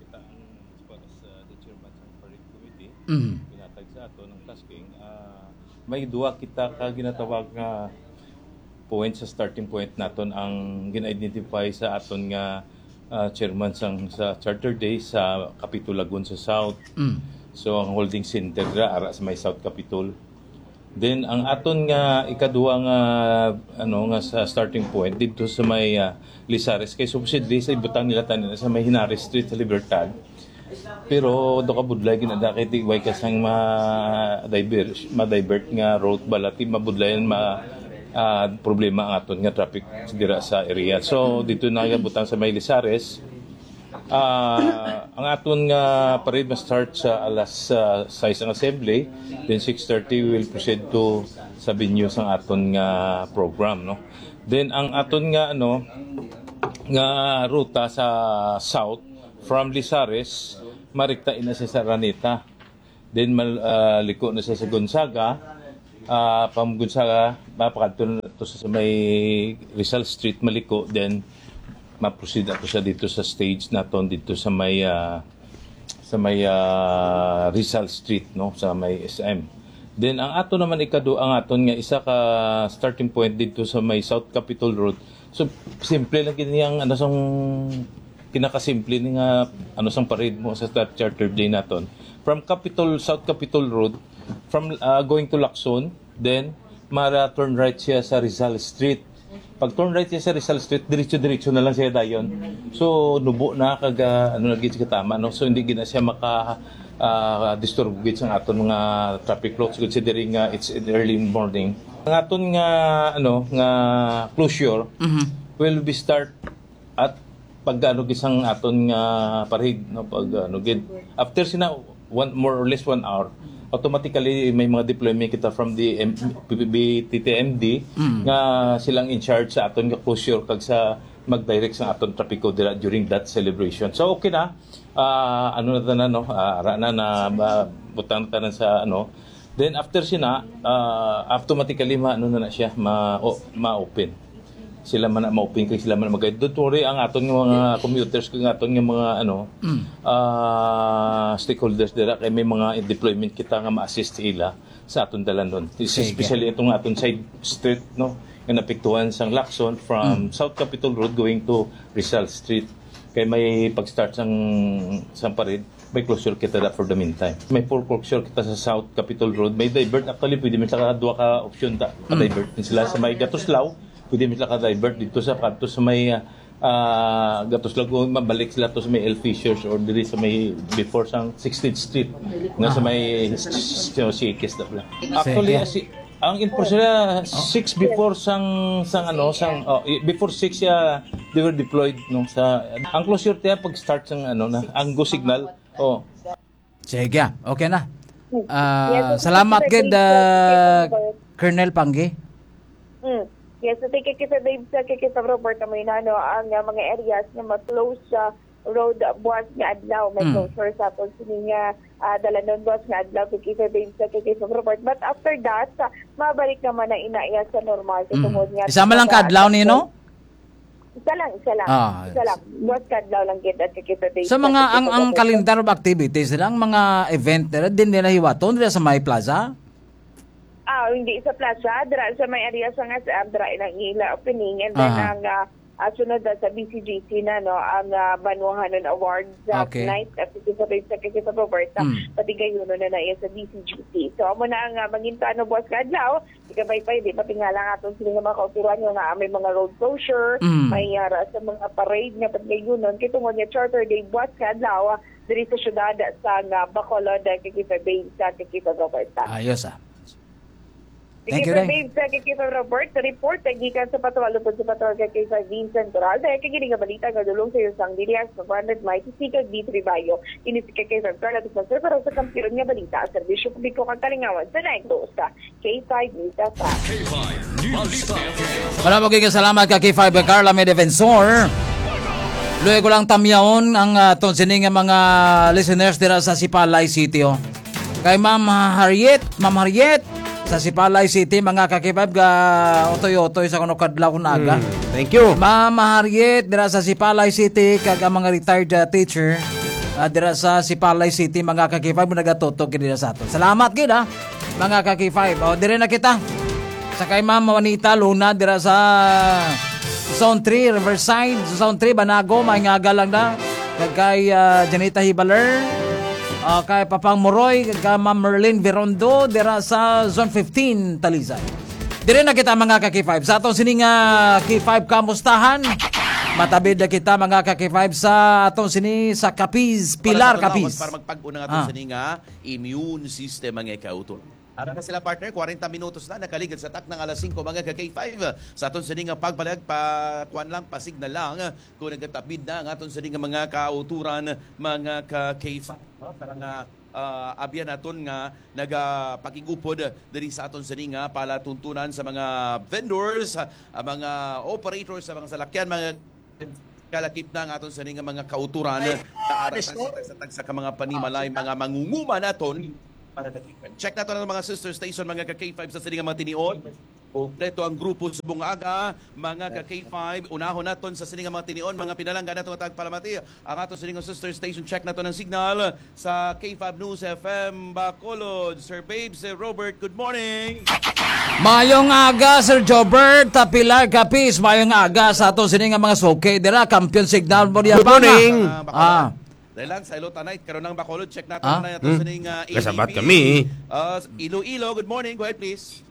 kita ang, as far as, uh, the chairman sa parade committee, Mm. pinatag sa aton ang tasking, ah, may duwa kita ka ginatawag nga point sa starting point naton ang gin-identify sa aton nga, ah, chairman sang, sa Charter Day sa Capitol Lagun sa South. Mm. So, ang holding center dira, ara sa may South Capitol. Then, ang aton nga ikaduha nga, ano, nga sa starting point, dito sa may, ah, Lizares, kay supposedly sa ibutang nila tanan sa may Henares Street sa Libertad. Pero do ka budlay ginada kay di way ka sang ma-divert, ma-divert nga route bala, ti mabudlayan ma-, ah, problema ang aton nga traffic dira sa area. So, dito na butang sa may Lizares. Ah, ang aton nga parade ma-start sa alas, ah, sais ang assembly, then six thirty we will proceed to sa venue sang aton nga program, no? Then ang aton nga, ano, nga ruta sa south, from Lizares, Marikta ina siya sa Araneta. Then mal, ah, liko na siya sa Gonzaga. Ah, from Gonzaga, mapakadto na to sa may Rizal Street, maliko. Then ma-proceed ato siya dito sa stage naton dito sa may, ah, sa may, ah, Rizal Street, no, sa may S M. Then ang ato naman ikado, ang aton nga isa ka starting point dito sa may South Capitol Road. So simple lang gid niyang ano sang kinakasimple ni nga ano sang parade mo sa Star Charter Day naton. From Capitol, South Capitol Road, from, ah, going to Lacson, then mara turn right siya sa Rizal Street. Pag turn right siya sa Rizal Street, diretso-diretso na lang siya dayon. So nubo na kag, ah, ano na gid siya tama, no? So hindi gid na siya maka, ah, disturbo gid sa aton mga traffic flow. Siguro siya diri nga it's in early morning. Ang aton nga, ano, nga closure Mhm. will be start at pag ano gid sang aton nga parade, no, pag ano gid, after sina one, more or less one hour, automatically may mga deployment kita from the M- B T T M D Mm. nga silang in charge sa aton nga closure kag sa mag-direct sa aton trapiko dira during that celebration. So okay na. Ah, ano na tanan, no? Ah, ara na na ma- butang na tanan sa ano. Then after sina, ah, automatically ma ano na, na siya, ma o, ma-open. Sila man na ma-open kay sila man na mag-guide. Don't worry, ang aton nga mga commuters kag aton nga mga ano, Mm. ah, stakeholders dira kay may mga deployment kita nga ma-assist ila sa aton dalan doon. Sige. Especially itong aton side street, no, nga napiktuhan sang Lacson from Mm. South Capitol Road going to Rizal Street. Kay may pag-start sang sang parade, may closure kita da for the meantime. May foreclosure kita sa South Capitol Road. May divert, actually, pwede man sila ka duha ka option ta. Mm. Divert din sila sa may Gatuslaw. Pwede man sila ka divert dito sa kadto sa may, ah, ah, Gatuslaw. Kung mabalik sila to sa may El Fishers or diri sa may before sang sixteenth Street na sa Ah. may s- s- s- C X na pala. Actually, Sige. asi- ang info sila six before sang sang ano sang oh, i- before six siya they were deployed, no, sa ang closure tiya pag start sang ano na ang go signal. Oh. Sige, okay na. Ah, Yes, salamat K K five gid, Babes, ah, K K five Babes. Colonel Panggi. Mm. Yes, so K K five Babes, sa K K five Robert, amo na, no, ang, ah, mga areas nga ma-close sa road buwas nga adlaw, may Mm. closure sa aton sini nga, ah, dalanon buwas nga adlaw, K K five Babes, sa K K five Robert. But after that, sa, mabalik naman na inaya sa normal. Mm. Tungod nga Isa man lang sa ka adlaw ni, no? Isa lang, isa lang. Ah, Isa lang. Buwas kadlaw lang gid at kikita day Sa sa mga, ang, ang kikita day. Calendar of activities nila, ang mga event nila, din nila hiwaton nila sa may plaza? Ah, hindi sa plaza, dira sa may area sa nga sa dira ilang ila opening, and then Aha. ang, ah, ah, sunod na sa B C G C na, no, ang, ah, Banwahanon Awards, ah, Okay. night at kikita day sa kikita Roberta, Mm. pati gayuno na na iya sa B C G C. So, amo na ang, ah, mangintano buwas kadlaw, Ikabay pa, di ba, tingala nga aton sila nga mga kauturan nga, nga may mga road closure, Mm. may, ah, ra sa mga parade nga paglayunon, kay tungod nga Charter Day buwas nga adlaw, ah, diri sa syudad sa nga Bacolod, ah, kay Bay sa kay Roberta. Ayos, ah. Thank you, Day. Bay sa kay Robert, sa report, ah, gikan sa patrol, upod sa patrol kay Vincent Corral, dahil kay gini nga balita nga dulong sa iyo sang D D S, one hundred miles, Sikag, D three Bayo. Ini si K K five Carla Defensor para sa kampiyon nga balita, serbisyo publiko kag kalingawan sa Negros. K five News F M. K five News F M. Wala mo giging salamat ka K five Carla may Defensor. Luoy ko lang tamyaon ang, ah, aton sini nga mga listeners dira sa Sipalay City, oh. Kay Ma'am Harriet, Ma'am Harriet, sa Sipalay City, mga ka K five, ga otoy-otoy sa kuno kadlaw kun aga. Mm, thank you. Ma'am Harriet, dira sa Sipalay City, kag ang mga retired, ah, teacher, ah, dira sa Sipalay City, mga ka K five, nagatutok gid dira sa aton. Salamat gid, ah, mga ka K five. O, dire na kita. Sa kay Ma'am Juanita Luna, dira sa Zone three, Riverside, Zone three, Banago, may nga galang na. Kag kay, ah, Janita Hibaler, ah, kay Papang Moroy, kag kay Ma'am Merlin Virondo, dira sa Zone fifteen, Talisay. Dire na kita, mga ka K five. Sa atong sini nga K five Kamustahan, matabid na kita, mga ka K five, sa atong sini sa Capiz, Pilar Para sa Capiz. Para magpag-una nga atong Ah. sini nga immune system, mga kauturan. Ara na sila, partner, kwarenta minutos na nakaligad sa takna nga alas singko, mga ka K five. Sa aton sini nga pagbalag, pa, kuwan lang, pasignal lang, kung nagatabi na ang aton sini nga mga kauturan, mga ka K five. Para nga, ah, abyan naton nga nagapakig-upod diri sa aton sini nga palatuntunan sa mga vendors, ah, mga operators sa mga salakyan, mga kalakip na ang aton sini nga mga kauturan. Ay, Taara ah, sa disco? Tagsa-tagsa ka mga panimalay, mga mangunguma naton. Check nato ang mga sister station, mga ka K five sa sini nga mga tinion. Kompleto ang grupo sa buong aga, mga ka K five. Unahon naton sa sini nga mga tinion, mga pinalangga nato nga tagpalamati. Ang ato sini nga sister station, check nato ng signal sa K five News F M Bacolod. Sir Babe, Sir Robert, good morning. Mayong aga, Sir Jobert, ah, Pilar Capiz. Mayong aga sa ato sini nga mga suki dira, Kampiyon Signal mo diya. Good morning. Ah, Bacolod. Ah. Dahil lang sa Ilota Night, karon ang Bacolod, check natin Ah? na natin Hmm. sa ning, ah, Kasabat A B P. Kami. Ah, Iloilo, good morning. Go ahead, please.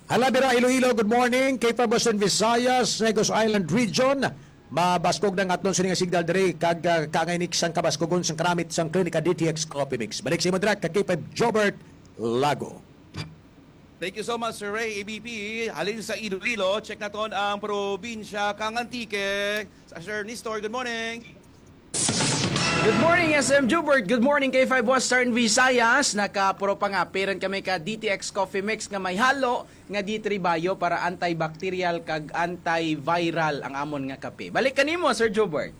Hala, dira Iloilo, good morning. K five Western Visayas, Negros Island Region. Mabaskog na ang aton sini nga signal diri kag, ah, kangay ni sang kabaskugon sang karamit sang Klinika D T X Coffee Mix. Balik sa imo dira ka K five Jobert Lago. Thank you so much, Sir Ray, A B P. Halin sa Iloilo, check naton ang probinsya kang Antique. Sa Sir Nestor, good morning. Good morning, S M Jubert. Good morning, K five Western Visayas. Nakapuro pa nga, parent kami ka D T X Coffee Mix nga may halo nga D three Bio para antibacterial kag antiviral ang amon nga kape. Balik kanimo, Sir Jubert.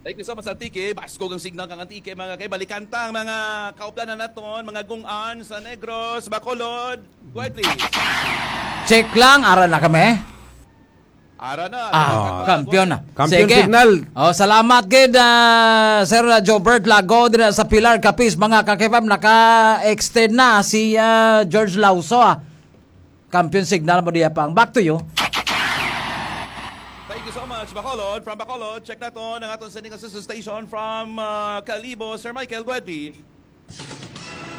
Thank you so much, Antique. Baskog ang signal kang Antique, mga kay. Balikan ta ang mga kaupdanan naton, mga gung-an sa Negros, Bacolod. Go ahead, please. Check lang, ara na kami. Ara na. Ah, Bacolod. Kampiyon na. Kampiyon Sige. Signal. Oh, salamat gid, ah, Sir Jobert Lago dira sa Pilar Capiz, mga ka-K five, naka-extend na si, ah, George Lauso, ah. Kampiyon signal mo diya pang. Back to you. Thank you so much, Bacolod. From Bacolod, check naton ang aton sending assistance station from, uh, Kalibo. Sir Michael, go ahead, please.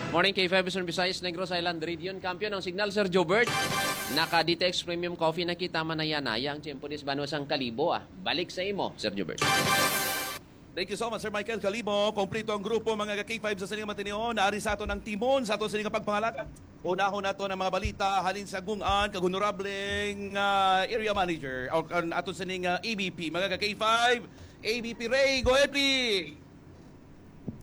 Morning, K five Vision Visayas, Negros Island Region. Kampiyon ang signal, Sir Jobert. Naka D T X Premium Coffee na kita, manaya-naya ang tiyempo dis banwa sang Kalibo, ah. Balik sa imo, Sir Jobert. Thank you so much, Sir Michael Kalibo. Kompleto ang grupo, mga ka-K five, sa sining matinion. Naari sa aton ang timon sa aton sining pagpangalaga. Unahon nato ang mga balita halin sa gung-an kag honorableng, ah, area manager o kan aton sining, ah, A B P, mga ka-K five. A B P Ray, go ahead, please.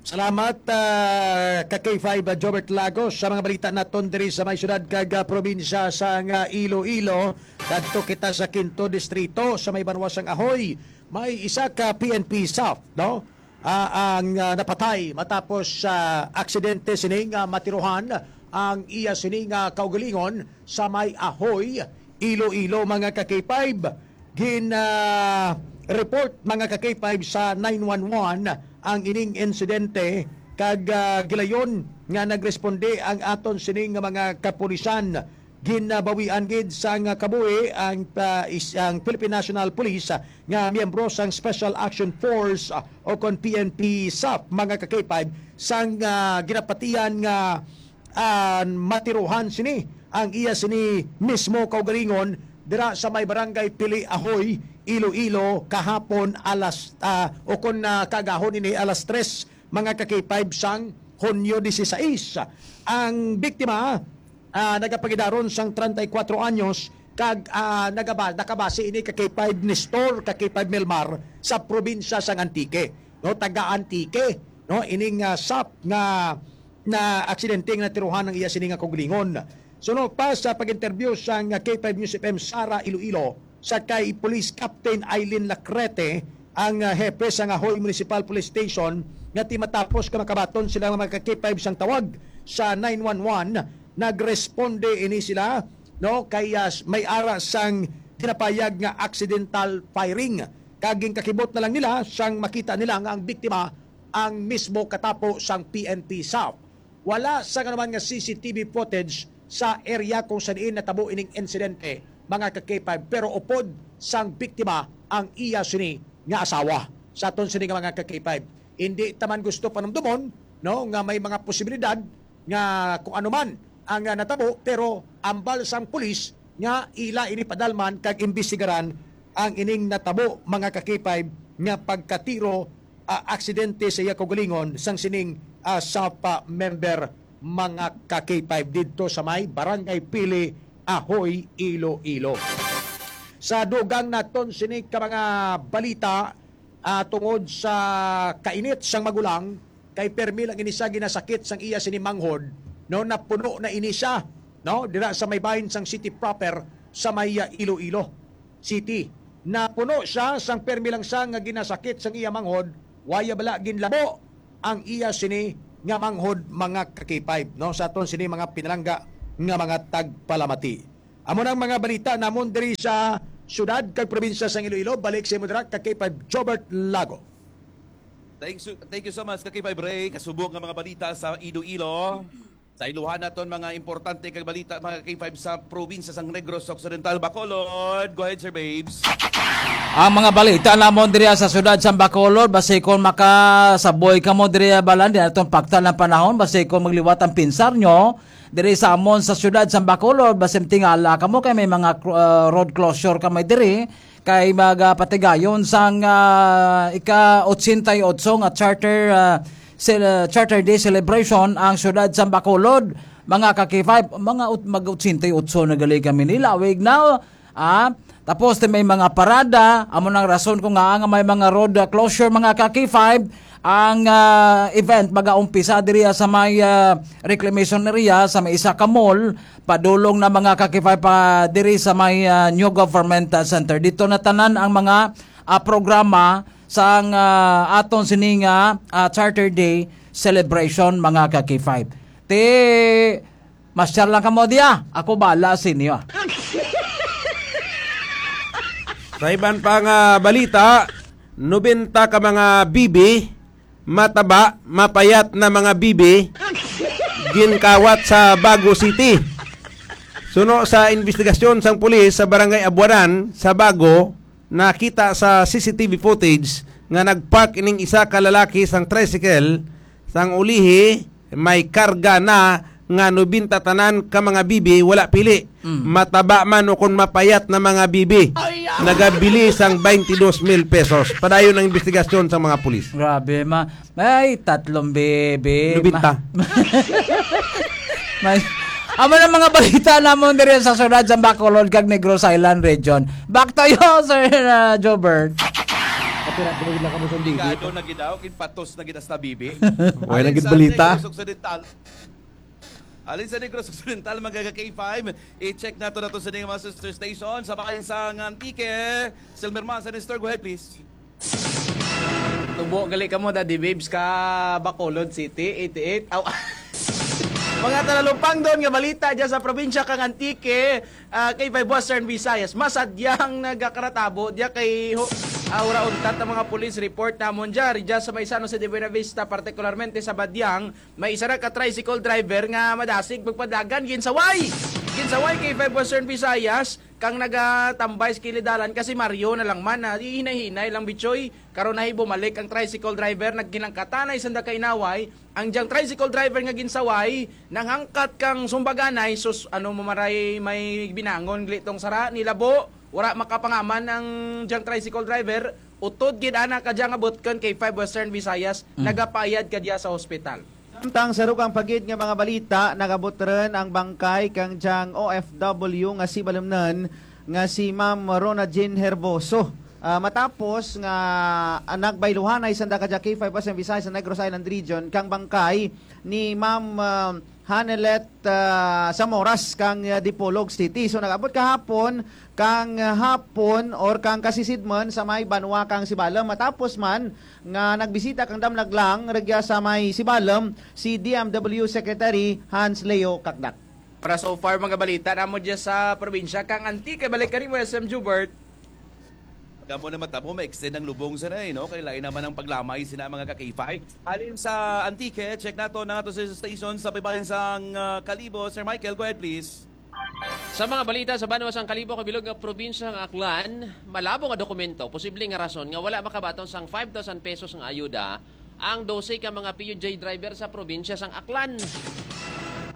Salamat, ah, ka K five, ah, Jobert Lagos. Sa mga balita naton diri sa may syudad kag, ah, probinsya sang, ah, Iloilo, kadto kita sa Quinto Distrito, sa may banwa sang Ahoy. May isa ka P N P staff, no? Ah, ang, ah, napatay matapos sa aksidente sini nga matirohan ang iya sini nga kaugalingon sa may Ahoy, Iloilo, mga ka K five. Gin, ah, report, mga ka K five, sa nine one one ang ining insidente kag, ah, gilayon nga nagresponde ang aton sini nga mga kapulisan. Ginabawian gid sang kabuhi ang, ah, is-, ang Philippine National Police, ah, nga miyembro sang Special Action Force, ah, o kon P N P staff, mga ka K five, sang, ah, ginapatian nga, ah, matirohan sini ang iya sini mismo kaugalingon dira sa may barangay Pili Ahoy, Iloilo, kahapon alas, ah, o kon, ah, kagahon ini alas tres, mga ka K five, sang Hunyo dieciséis. Ang biktima, ah, nagapangidaron sang treinta y cuatro anyos kag, ah, nagaba-, nakabase ini ka K five Nestor, ka K five Melmar sa probinsya sang Antique, no, taga Antique, no, ining, ah, sap nga na aksidente nga natiruhan ang iya sini nga kaugalingon. Suno pa sa pag-interview sang K five News F M Sara Iloilo, sa kay Police Captain Eileen Lacrete, ang, ah, hepe sa Ngahoy Municipal Police Station, nga ti matapos ka makabaton sila nga mga ka K five sang tawag sa nine one one, nagresponde ini sila, no, kay, ah, may ara sang ginapayag nga accidental firing. Kag ginkakibot na lang nila sang makita nila nga ang biktima ang mismo katapo sang P N P staff. Wala sang anuman nga C C T V footage sa area kung sa diin natabo ining insidente, mga ka K five, pero upod sang biktima ang iya sini nga asawa. Sa aton sini nga mga ka K five, hindi ta man gusto panumdumon, no, nga may mga posibilidad nga kung ano man ang, ah, natabo, pero ambal sang pulis nga ila ini padalman kag imbestigaran ang ining natabo, mga ka K five, nga pagkatiro, ah, aksidente sa iya kaugalingon sang sining, ah, sap member, mga ka K five, didto sa may Barangay Pili, Ahoy, Iloilo. Sa dugang naton sini ka mga balita, ah, tungod sa kainit sang magulang, kay permi lang ini siya ginasakit sang iya sini manghod, no, napuno na ini siya, no, dira sa may bahin sang city proper sa may, ah, Iloilo City. napuno siya sang permi lang siya nga ginasakit sang iya manghod, waya bala ginlabo ang iya sini nga manghod, mga ka-K five, no? Sa aton sini mga pinalangga nga mga tagpalamati. Amo nang mga balita namon diri sa syudad kag probinsya sang Iloilo. Balik sa imo dira, ka-K five Jobert Lago. Thank you, thank you so much, ka-K five Ray. Kasubok nga mga balita sa Iloilo. Sa iluhan naton mga importante kag balita, mga ka-K five, sa probinsya sang Negros Occidental, Bacolod. Go ahead, Sir Babes. Ang mga balita namon diri sa syudad sa Bacolod, basi kon makasaboy kamo diri, balan, di naton paktan ang panahon, basi kon magliwat ang pinsar nyo, diri sa amon sa syudad sa Bacolod, basi tingala kamo kay may mga cl-, ah, road closure kami diri, kay magapatigayon sang, ah, ika-ochenta y ocho nga charter, ah, cel-, ah, Charter Day celebration ang syudad sa Bacolod. Mga ka-K five, mga ut-, mag-ochenta y ocho na gali kami ni lawig na, ah. Tapos, ti may mga parada, amo nang rason ko nga nga may mga road, ah, closure, mga ka-K five. Ang, ah, event magaumpisa diri sa may, ah, reclamation area sa may isa ka mall, padulong na, mga ka-K five, pa diri sa may, ah, New Government, ah, Center. Dito na tanan ang mga, ah, programa sang, ah, aton sini nga, ah, Charter Day celebration, mga ka-K five. Ti, masyar lang kamo diya. Ako bala sa inyo. Sa iban pa nga balita, nobenta ka mga bibi, mataba, mapayat na mga bibi, ginkawat sa Bago City. Suno sa investigasyon sang pulis sa Barangay Abuanan sa Bago, nakita sa C C T V footage nga nagpark ining isa ka lalaki sang tricycle, sang ulihi may karga na nga nobenta tanan ka mga bibi, wala pili. Mm. Mataba man o kon mapayat na mga bibi. Ay, ah! Nagabili sang twenty-two mil pesos. Padayon ang investigasyon sa mga pulis. Grabe, ma-, may tatlong bibi. Nobenta. Ma-, may, amo na mga balita namon diri sa syudad sa Bacolod kag Negros Island Region. Back to you, Sir, uh, Jobert. Kapira, tumawid lang kamo sa bibi. Delikado na gid daw, kinpatos na gid hasta bibi. Wala Alin gid sa balita. Negros Occidental, Alin sa Negros Occidental, mga ka-K five? I-check nato nato sa ining mga sister station sa bayan sa Antique. Silmer Man, sa Nestor, go ahead, please. Tubo gali kamo, Daddy Babes, ka Bacolod City, eighty-eight. Aw. Mga talalupangdon nga balita dyan sa probinsya kang Antique, ah, K five Western Visayas. Masadyang nagakaratabo diya kay ho-, ah, ura untat ang mga police report namon dyan. Dyan sa may San Jose de Buenavista, partikularmente sa Badiang, may isa ra ka tricycle driver nga madasig magpadagan, ginsaway. Ginsaway kay K five Western Visayas, kang nagatambay sa kilid dalan kasi Mario na lang man, ah, hinay-hinay lang, bitsoy. Karon nahi bumalik ang tricycle driver, nagkinangkatanay sanda ka inaway. Ang diyang tricycle driver nga ginsaway, nanghangkat kang sumbaganay, sus, ano mo maray may binangon, glitong sara, nilabo, wala makapangaman ang diyang tricycle driver, utod gid ana ka diyang abot kan K five Western Visayas, Mm. nagapayad ka diya sa hospital. Samtang sa dugang pa gid nga mga balita, nagabot rin ang bangkay kang diyang O F W nga si Balumnan nga si Ma'am Rona Jean Herboso. Ah, matapos nga, ah, nagbayluhanay sa Dakaja K five Western Visayas sa Negros Island Region kang bangkay ni Ma'am, ah, Hanelet, ah, Samoras kang, ah, Dipolog City. So, nag-abot kahapon kang, ah, hapon or kang kasisidman sa may banwa kang Sibalom. Matapos man nga nagbisita kang damlaglang rugya sa may Sibalom, si D M W Secretary Hans Leo Cacdac. Para so far, mga balita namo dyan sa probinsya kang Antique. Balik ka rin mo, S M Jubert. Kamo na matabo, ma-extend ang lubong sa na, eh, no? Kay lain naman ang paglamay sina mga ka-K five. Halin sa Antique, check nato na ato sa station sa pibayan sang, ah, Kalibo. Sir Michael, go ahead, please. Sa mga balita sa banwa sang Kalibo, kabilog nga probinsya nga Aklan, malabo nga dokumento, posible nga rason nga wala makabaton sang five thousand pesos nga ayuda ang dose ka mga P U J driver sa probinsya sang Aklan.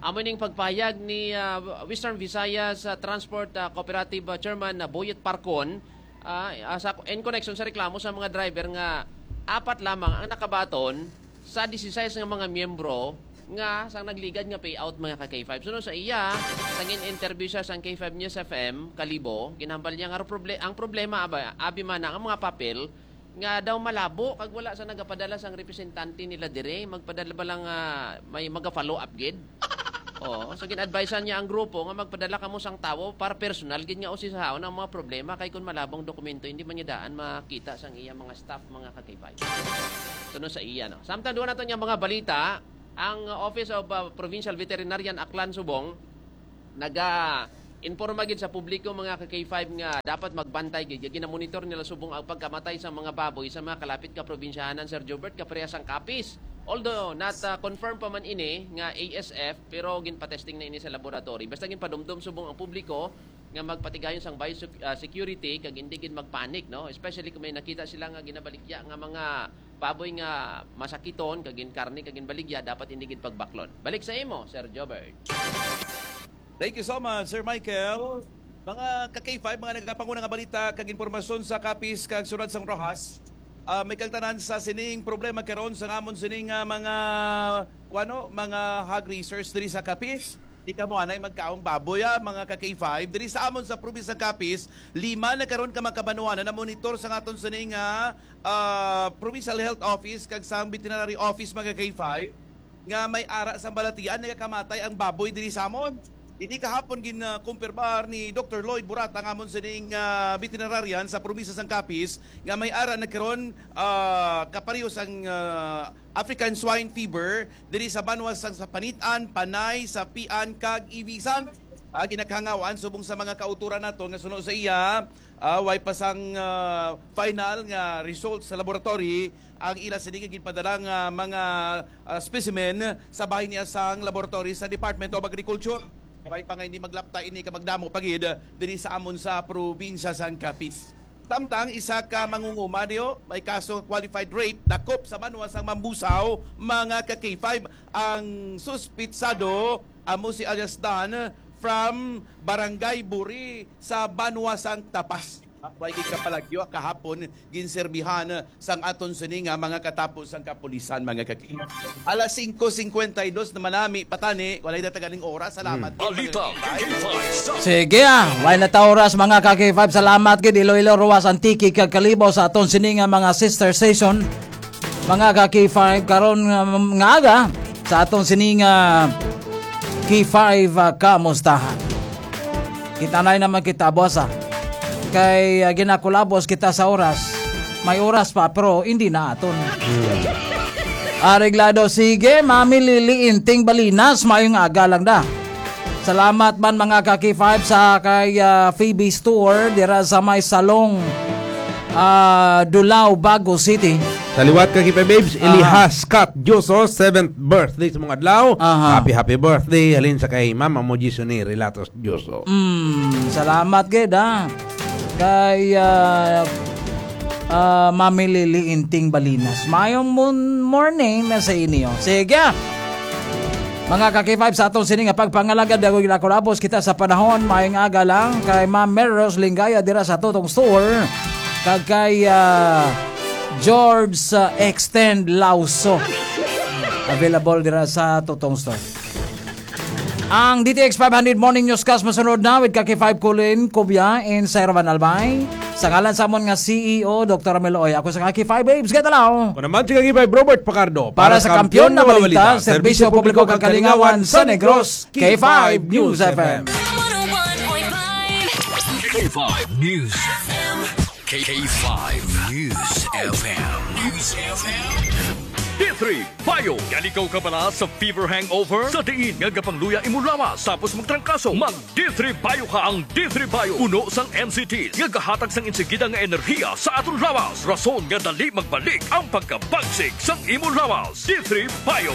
Amo ning pagpahayag ni, ah, Western Visayas, ah, Transport, ah, Cooperative, ah, Chairman, ah, Boyet Parcon, ah, ah, sa, in connection sa reklamo sa mga driver nga apat lamang ang nakabaton sa disisais nga mga miyembro nga sang nagligad nga payout, mga ka-K five. Suno sa iya, sang in-interview siya sang K five News F M, Kalibo, ginhambal niya nga proble-, ang problema, aba, abi man ang mga papel nga daw malabo kag wala sa nagapadala sang representante nila dire, magpadala ba lang, ah, may maga-follow up gid? Oo, so gin-advisean niya ang grupo nga magpadala kamo sang tawo para personal gid nga usisahon ang mga problema, kay kun malabo ang dokumento, hindi man niya daan makita sang iya mga staff, mga ka-K five. Sunod sa iya, no? Samtang duwa nato niya mga balita, ang Office of, uh, Provincial Veterinarian Aklan Subong naga-informa gid sa publiko, mga ka-K five, nga dapat magbantay gid. Ginamonitor nila subong ang pagkamatay sa mga baboy sa mga kalapit ka probinsyahanan, Sir Jobert, kaparehas sang Capiz. Although not, uh, confirmed pa man ini nga A S F, pero ginpatesting na ini sa laboratory. Basta ginpadumdom subong ang publiko nga magpatigayon sang biosec-, ah, security kag hindi gid magpanic, no? Especially kung may nakita sila nga ginabaligya nga mga baboy nga masakiton kag ginkarne kag ginbaligya, dapat hindi gid pagbaklon. Balik sa imo, Sir Jobert. Thank you so much, Sir Michael. Mga ka-K five, mga nagapanguna nga balita kag impormasyon sa Capiz kag Ciudad sang Roxas. Ah, may kagtanan sa sining problema karon sa ngamon sining, ah, mga, kuwano, mga hog raisers diri sa Capiz. Di kamo anay magkaong baboy, ah, mga ka-K five. Diri sa amon sa probinsya sa Capiz, lima na karon ka mga kabanuanan na monitor sa aton sining, ah, ah, Provincial Health Office kag sa Veterinary Office, mga ka-K five, nga may ara sang balatian nagakamatay ang baboy diri sa amon. Ini kahapon gin, ah, kumpirmar ni Doktor Lloyd Burata, nga amon sining, ah, veterinarian sa probinsya sang Capiz, nga may ara na karon, ah, kapareho sang, ah, African swine fever diri sa banwa sang sa Panitan, Panay, Sapian, kag Ibisan. Ah, ginakahangawaan subong sa mga kautoran nato nga suno sa iya, ah, way pa sang, ah, final nga result sa laboratory ang ila sini nga ginpadala nga mga, ah, specimen sa bahin niya sang laboratory sa Department of Agriculture. Way pa nga hindi maglapta ini ka magdamo pa gid diri sa amon sa probinsya sang Capiz. Samtang isa ka mangunguma diyo, may kaso qualified rape, dakop sa banwa sang Mambusao, mga ka-K five, ang suspitsado, amo si alias Don, from Barangay Buri sa banwa sang Tapas. Way gid kapalagyo, kahapon ginserbihan sang aton sini nga mga katapo sang kapulisan, mga kaki. Alas singko singkwenta y dos naman nami patani, walay dataganing oras. Salamat po, mga Balita kaki. K five sa Sige, ah. Way na ta oras, mga ka-K five. Salamat gid, Iloilo, Roxas, Antique, kag Kalibo sa aton sini nga mga sister station. Mga ka-K five, karon nga, nga aga, sa aton sini nga K five, ah, kamustahan. Kita na naman kita, boss, ah. Kay, ah, ginakulabos kita sa oras. May oras pa, pero hindi na aton. Areglado, sige, Mami Lily Inting Balinas, maayong aga lang da. Salamat man, mga ka-K five, sa kay, ah, Phoebe Store dira sa may Salong, ah, Dulao, Bago City. Sa liwat ka, K five Babes, Aha. Elihas Scott Dioso, seventh birthday sa mga adlaw. Aha. Happy, happy birthday. Halin sa kay Mama mo, Gisone Relatos Dioso. Mm, salamat gid, ha. Kay, ah, ah, Mami Lily Inting Balinas. Mayong mon-, morning na sa inyo. Sige. Mga ka-K five, sa aton sini nga pagpangalagad, dago ginakulabos kita sa panahon. Mayong aga lang kay Ma'am Mary Rose Lingaya dira sa Tutong Store. Kag kay, ah, George, ah, Extend Lauso. Available dira sa Tutong Store. Ang D T X five hundred Morning Newscast masunod na with ka-K five Colin Cubia and Sir Van Albay. Sa ngalan sa amon nga C E O, Doktor Ramil Oy, ako sa ka-K five Babes Gatalaw. Ako naman si ka-K five Robert Pacardo. Para sa Kampiyon na Balita, Serbisyo Publiko kag Kalingawan sa Negros, K five News F M. K five News F M. K five News F M. News F M. D three Bio. Gali kaw kabala sa fever hangover? Sa diin nga gapangluya imo lawas tapos magtrangkaso? Mag D three Bio ka. Ang D three Bio puno sang M C T nga gahatag sang insigida nga enerhiya sa aton lawas, rason nga dali magbalik ang pagkabagsik sang imo lawas. D three Bio.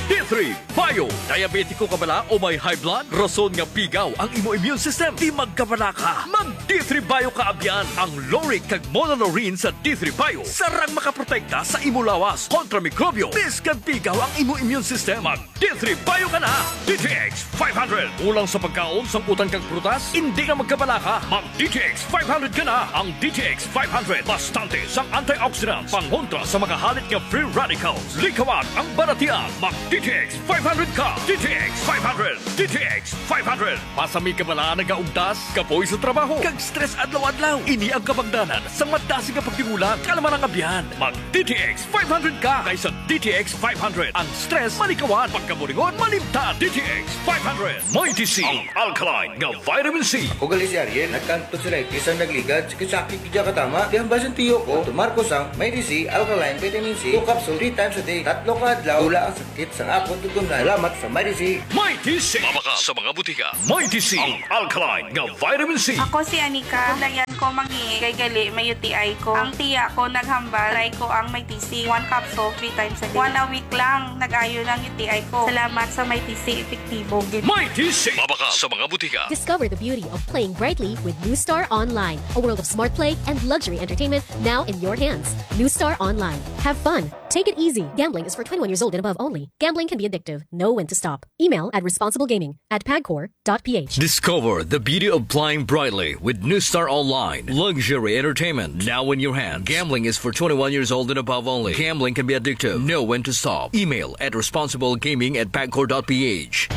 D three Bio. Diabetiko ka bala o may high blood? Rason nga pigaw ang imo immune system. Di magkabala ka. Mag D three Bio ka, abyan. Ang lauric kag monolaurin sa D three Bio sarang makaprotekta sa imo lawas kontra mikrobyo. Biskag pigaw ang imo immune system, mag D three Bio ka na. D T X five hundred. Kulang sa pagkaon, sangkutan kag prutas? Hindi na magkabala ka. Mag D T X five hundred ka na. Ang D T X five hundred bastante sang antioxidants pangontra sa mga halit nga free radicals. Likawan ang balatian. Mag D T X five hundred ka! D T X five hundred! D T X five hundred! Pasami ka bala nagaugtas, kapoy sa trabaho, kag stress adlaw-adlaw. Ini ang kabangdanan sa madasig nga pagtigulang, kalma nga biyan. Mag D T X five hundred ka, kay sa D T X five hundred, ang stress malikawan, pagkaburingon malimtan. D T X five hundred, Mighty C, ang alkaline nga vitamin C. Ako gali si Ariel, nagkantod sa tonsillitis ang nagligad, sakit-sakit gid katama. Di ang basin tiyo ko, tumar ko sang Mighty C Alkaline Vitamin C, two capsule, three times a day. Tatlo ka adlaw, wala ang sakit sang akon tutunlan. Salamat sa Mighty C. Mighty C. Mabakal sa mga butika. Mighty C, ang alkaline nga vitamin C. Ako si Anika. Layan ko mangihi kay gali may U T I ko. Ang tiya ko naghambal, try ko ang Mighty C. One capsule, three times a day. One a week lang, nag-ayo lang U T I ko. Salamat sa Mighty C, epektibo gid. Mighty C. Mabakal sa mga butika. Discover the beauty of playing brightly with New Star Online, a world of smart play and luxury entertainment now in your hands. New Star Online. Have fun. Take it easy. Gambling is for twenty-one years old and above only. Gambling can be addictive. Know when to stop. Email at responsiblegaming at pagcor dot p h. Discover the beauty of playing brightly with New Star Online. Luxury entertainment now in your hand. Gambling is for twenty-one years old and above only. Gambling can be addictive. Know when to stop. Email at responsiblegaming at pagcor dot p h.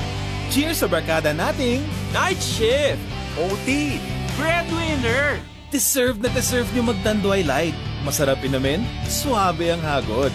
Cheers sa barkada nating Night shift! O T! Breadwinner! Deserve na deserve nyo mag Tanduay Light. Masarap inumin, suabe ang hagod.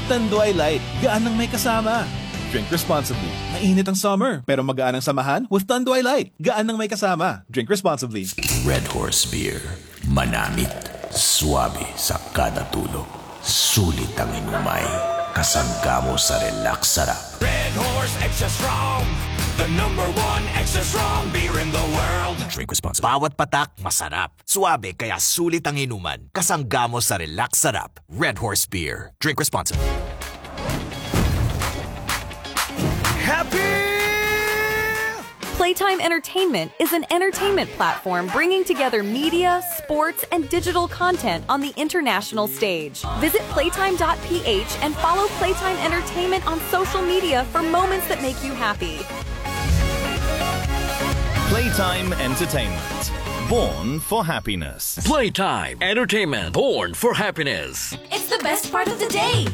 Tanduay Light, gaan nang may kasama. Drink responsibly. Mainit ang summer, pero magaan ang samahan with Tanduay Light. Gaan nang may kasama. Drink responsibly. Red Horse Beer. Manamit, suabe sa kada tulo. Sulit ang inumay. Kasangga mo sa relax sarap. Red Horse Extra Strong, the number one extra strong beer in the world. Drink responsibly. Bawat patak, masarap. Suabe, kaya sulit ang inuman. Kasangga mo sa relax sarap. Red Horse Beer. Drink responsibly. Happy! Playtime Entertainment is an entertainment platform bringing together media, sports, and digital content on the international stage. Visit playtime dot p h and follow Playtime Entertainment on social media for moments that make you happy. Playtime Entertainment. Born for happiness. Playtime Entertainment. Born for happiness. It's the best part of the day.